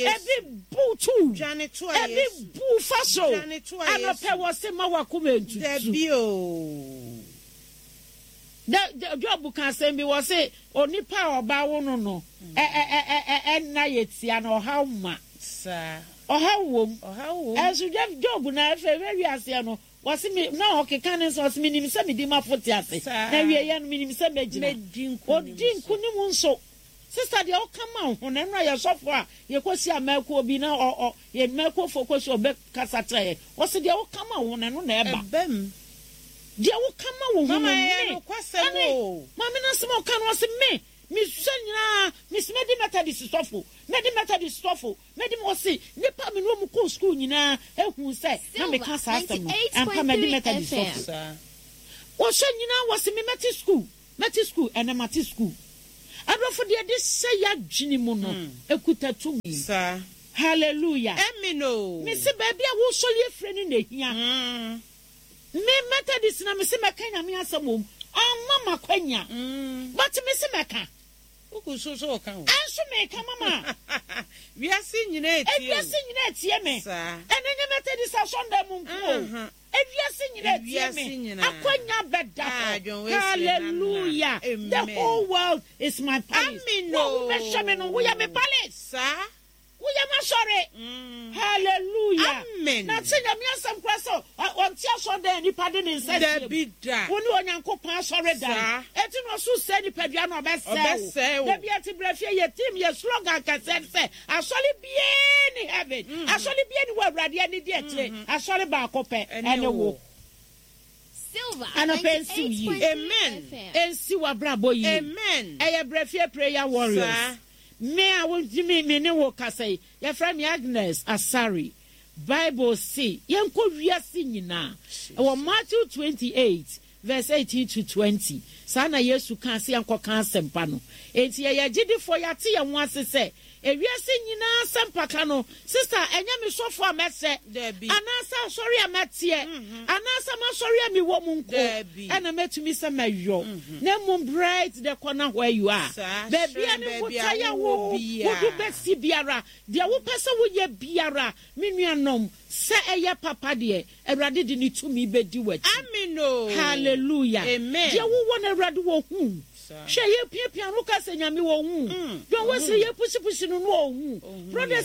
S1: Ebi bu wo to. Ebi bu wo fa so. Anɔpa wɔ se ma w'akoma ntutu.
S2: Dabi o.
S1: Job ka asɛm bi wɔ se onipa a ɔba wo no no ɛnna yɛ tia na ɔhaw ma.
S2: Saa.
S1: Ɔhaw wom.
S2: Ɔhaw wom.
S1: Ɛnso Jeff Job na afei hwɛ wiaseɛ no, wɔse me, na ɔkeka ne nsɛm, ɔse menim sɛ medi m'afo te ase,
S2: Saa.
S1: na awieɛ no menim sɛ mɛgyina.
S2: Mɛdi nkonim
S1: Ɔdi
S2: nso.
S1: nkonim nso. Sister deɛ ɔka ma wo ho no, ɛno a yɛ sɔfo a yɛkɔhyia mmakuo bi na ɔ, ɔ, yɛ mmakuofoɔ kɔhyia ɔbɛkasa kyerɛ yɛn, ɔse deɛ woka ma wo ho no, ɛno na ɛba.
S2: Ɛba mu.
S1: Deɛ woka ma wo ho no,
S2: Mama ɛyɛ
S1: me,
S2: nokwasɛm
S1: ɛne,
S2: o.
S1: maame no asɛm a ɔka no, ɔse me. Mesua nyinaa, mese mɛdi Methodist sɔfo, mɛdi Methodist sɔfo, mɛdi Ɔse nnipa a me ne wɔn kɔɔ sukuu nyinaa huu sɛ na meka saa asɛm no. Ampa, madi Methodist sɔfo. Wɔsua nyinaa wɔse me mɛte sukuu, mɛte sukuu, ɛnnɛ mate sukuu. Adɔfo, deɛ yɛde hyɛ y'adwene mu no, ɛkuta tumi. Hallelujah. Mese baabi a wosɔre afire no na ɛhia. Me Methodist na mese mɛka Nyame asɛm wɔ mu, amma m'akwanya, but mese mɛka.
S2: Wogu so sɛ ɔka o.
S1: Ɛnso meka mama.
S2: Wiase nyinaa etie o.
S1: Ewiase nyinaa etie me.
S2: Saa.
S1: Ɛno nyɛ Methodist asɔndan mu nko o. Ewiase nyinaa etie me. Akwanya bɛda hɔ. Hallelujah. The whole world is my palace.
S2: Amen
S1: o. Wo a wobɛhwɛ me no, woyɛ me palace.
S2: Saa.
S1: Woyɛ m'asɔre. Hallelujah.
S2: Amen.
S1: Na sɛ Nyame asɛm koraa sɛ ɔnte asɔredan a nipa de ne nsa sie mu.
S2: Dabi da.
S1: Wo ne Onyankopɔn asɔredan.
S2: Saa.
S1: Enti na ɔso sɛe nipadua no ɔbɛsɛe wo.
S2: Ɔbɛsɛe wo.
S1: Dabi ɛte brɛ fie yɛ team yɛ slogan kɛseɛ ne sɛ asɔre biara ni heaven. Asɔre biara ni wɔ Awurade ani di akyire. Asɔre baako pɛ ɛne wo. Anɔpa ɛnsi wo yie.
S2: Amen.
S1: Ɛnsi w'abrabɔ yie.
S2: Amen.
S1: Ɛyɛ brɛ fie prayer warriors.
S2: Saa.
S1: Me a wotumi me ne wo kasa yi, yɛfrɛ me Agnes Asare. Bible se yɛnkɔ wiase nyinaa. Ɛwɔ Matthew 28 verse 18 to 20. Saa na Yesu kaa sɛ yɛnkɔka asɛmpa no. Enti yɛyɛ agyidifoɔ, yɛate yɛn ho ase sɛ ewiase nyinaa asɛmpaka no, sista, ɛnyɛ me sɔfo a mɛsɛ, anaasɛ asɔre a mɛteɛ, anaasɛ m'asɔre a mewɔ mu nko na mɛtumi sɛ mɛyɔ, na mmom bright the corner where you are, baabi a ne botaeɛ a wo wode bɛsi biara, deɛ wopɛ sɛ woyɛ biara, me nuanom, sɛ ɛyɛ papa deɛ, Awurade de ne tumi bɛdi w'akyi. Hallelujah. Deɛ wowɔ no Awurade wɔ hu. Hwɛ yɛpiapia no woka sɛ Nyame wɔ hu. John Wesley yɛpusipusi no no ɔhu. Brothers.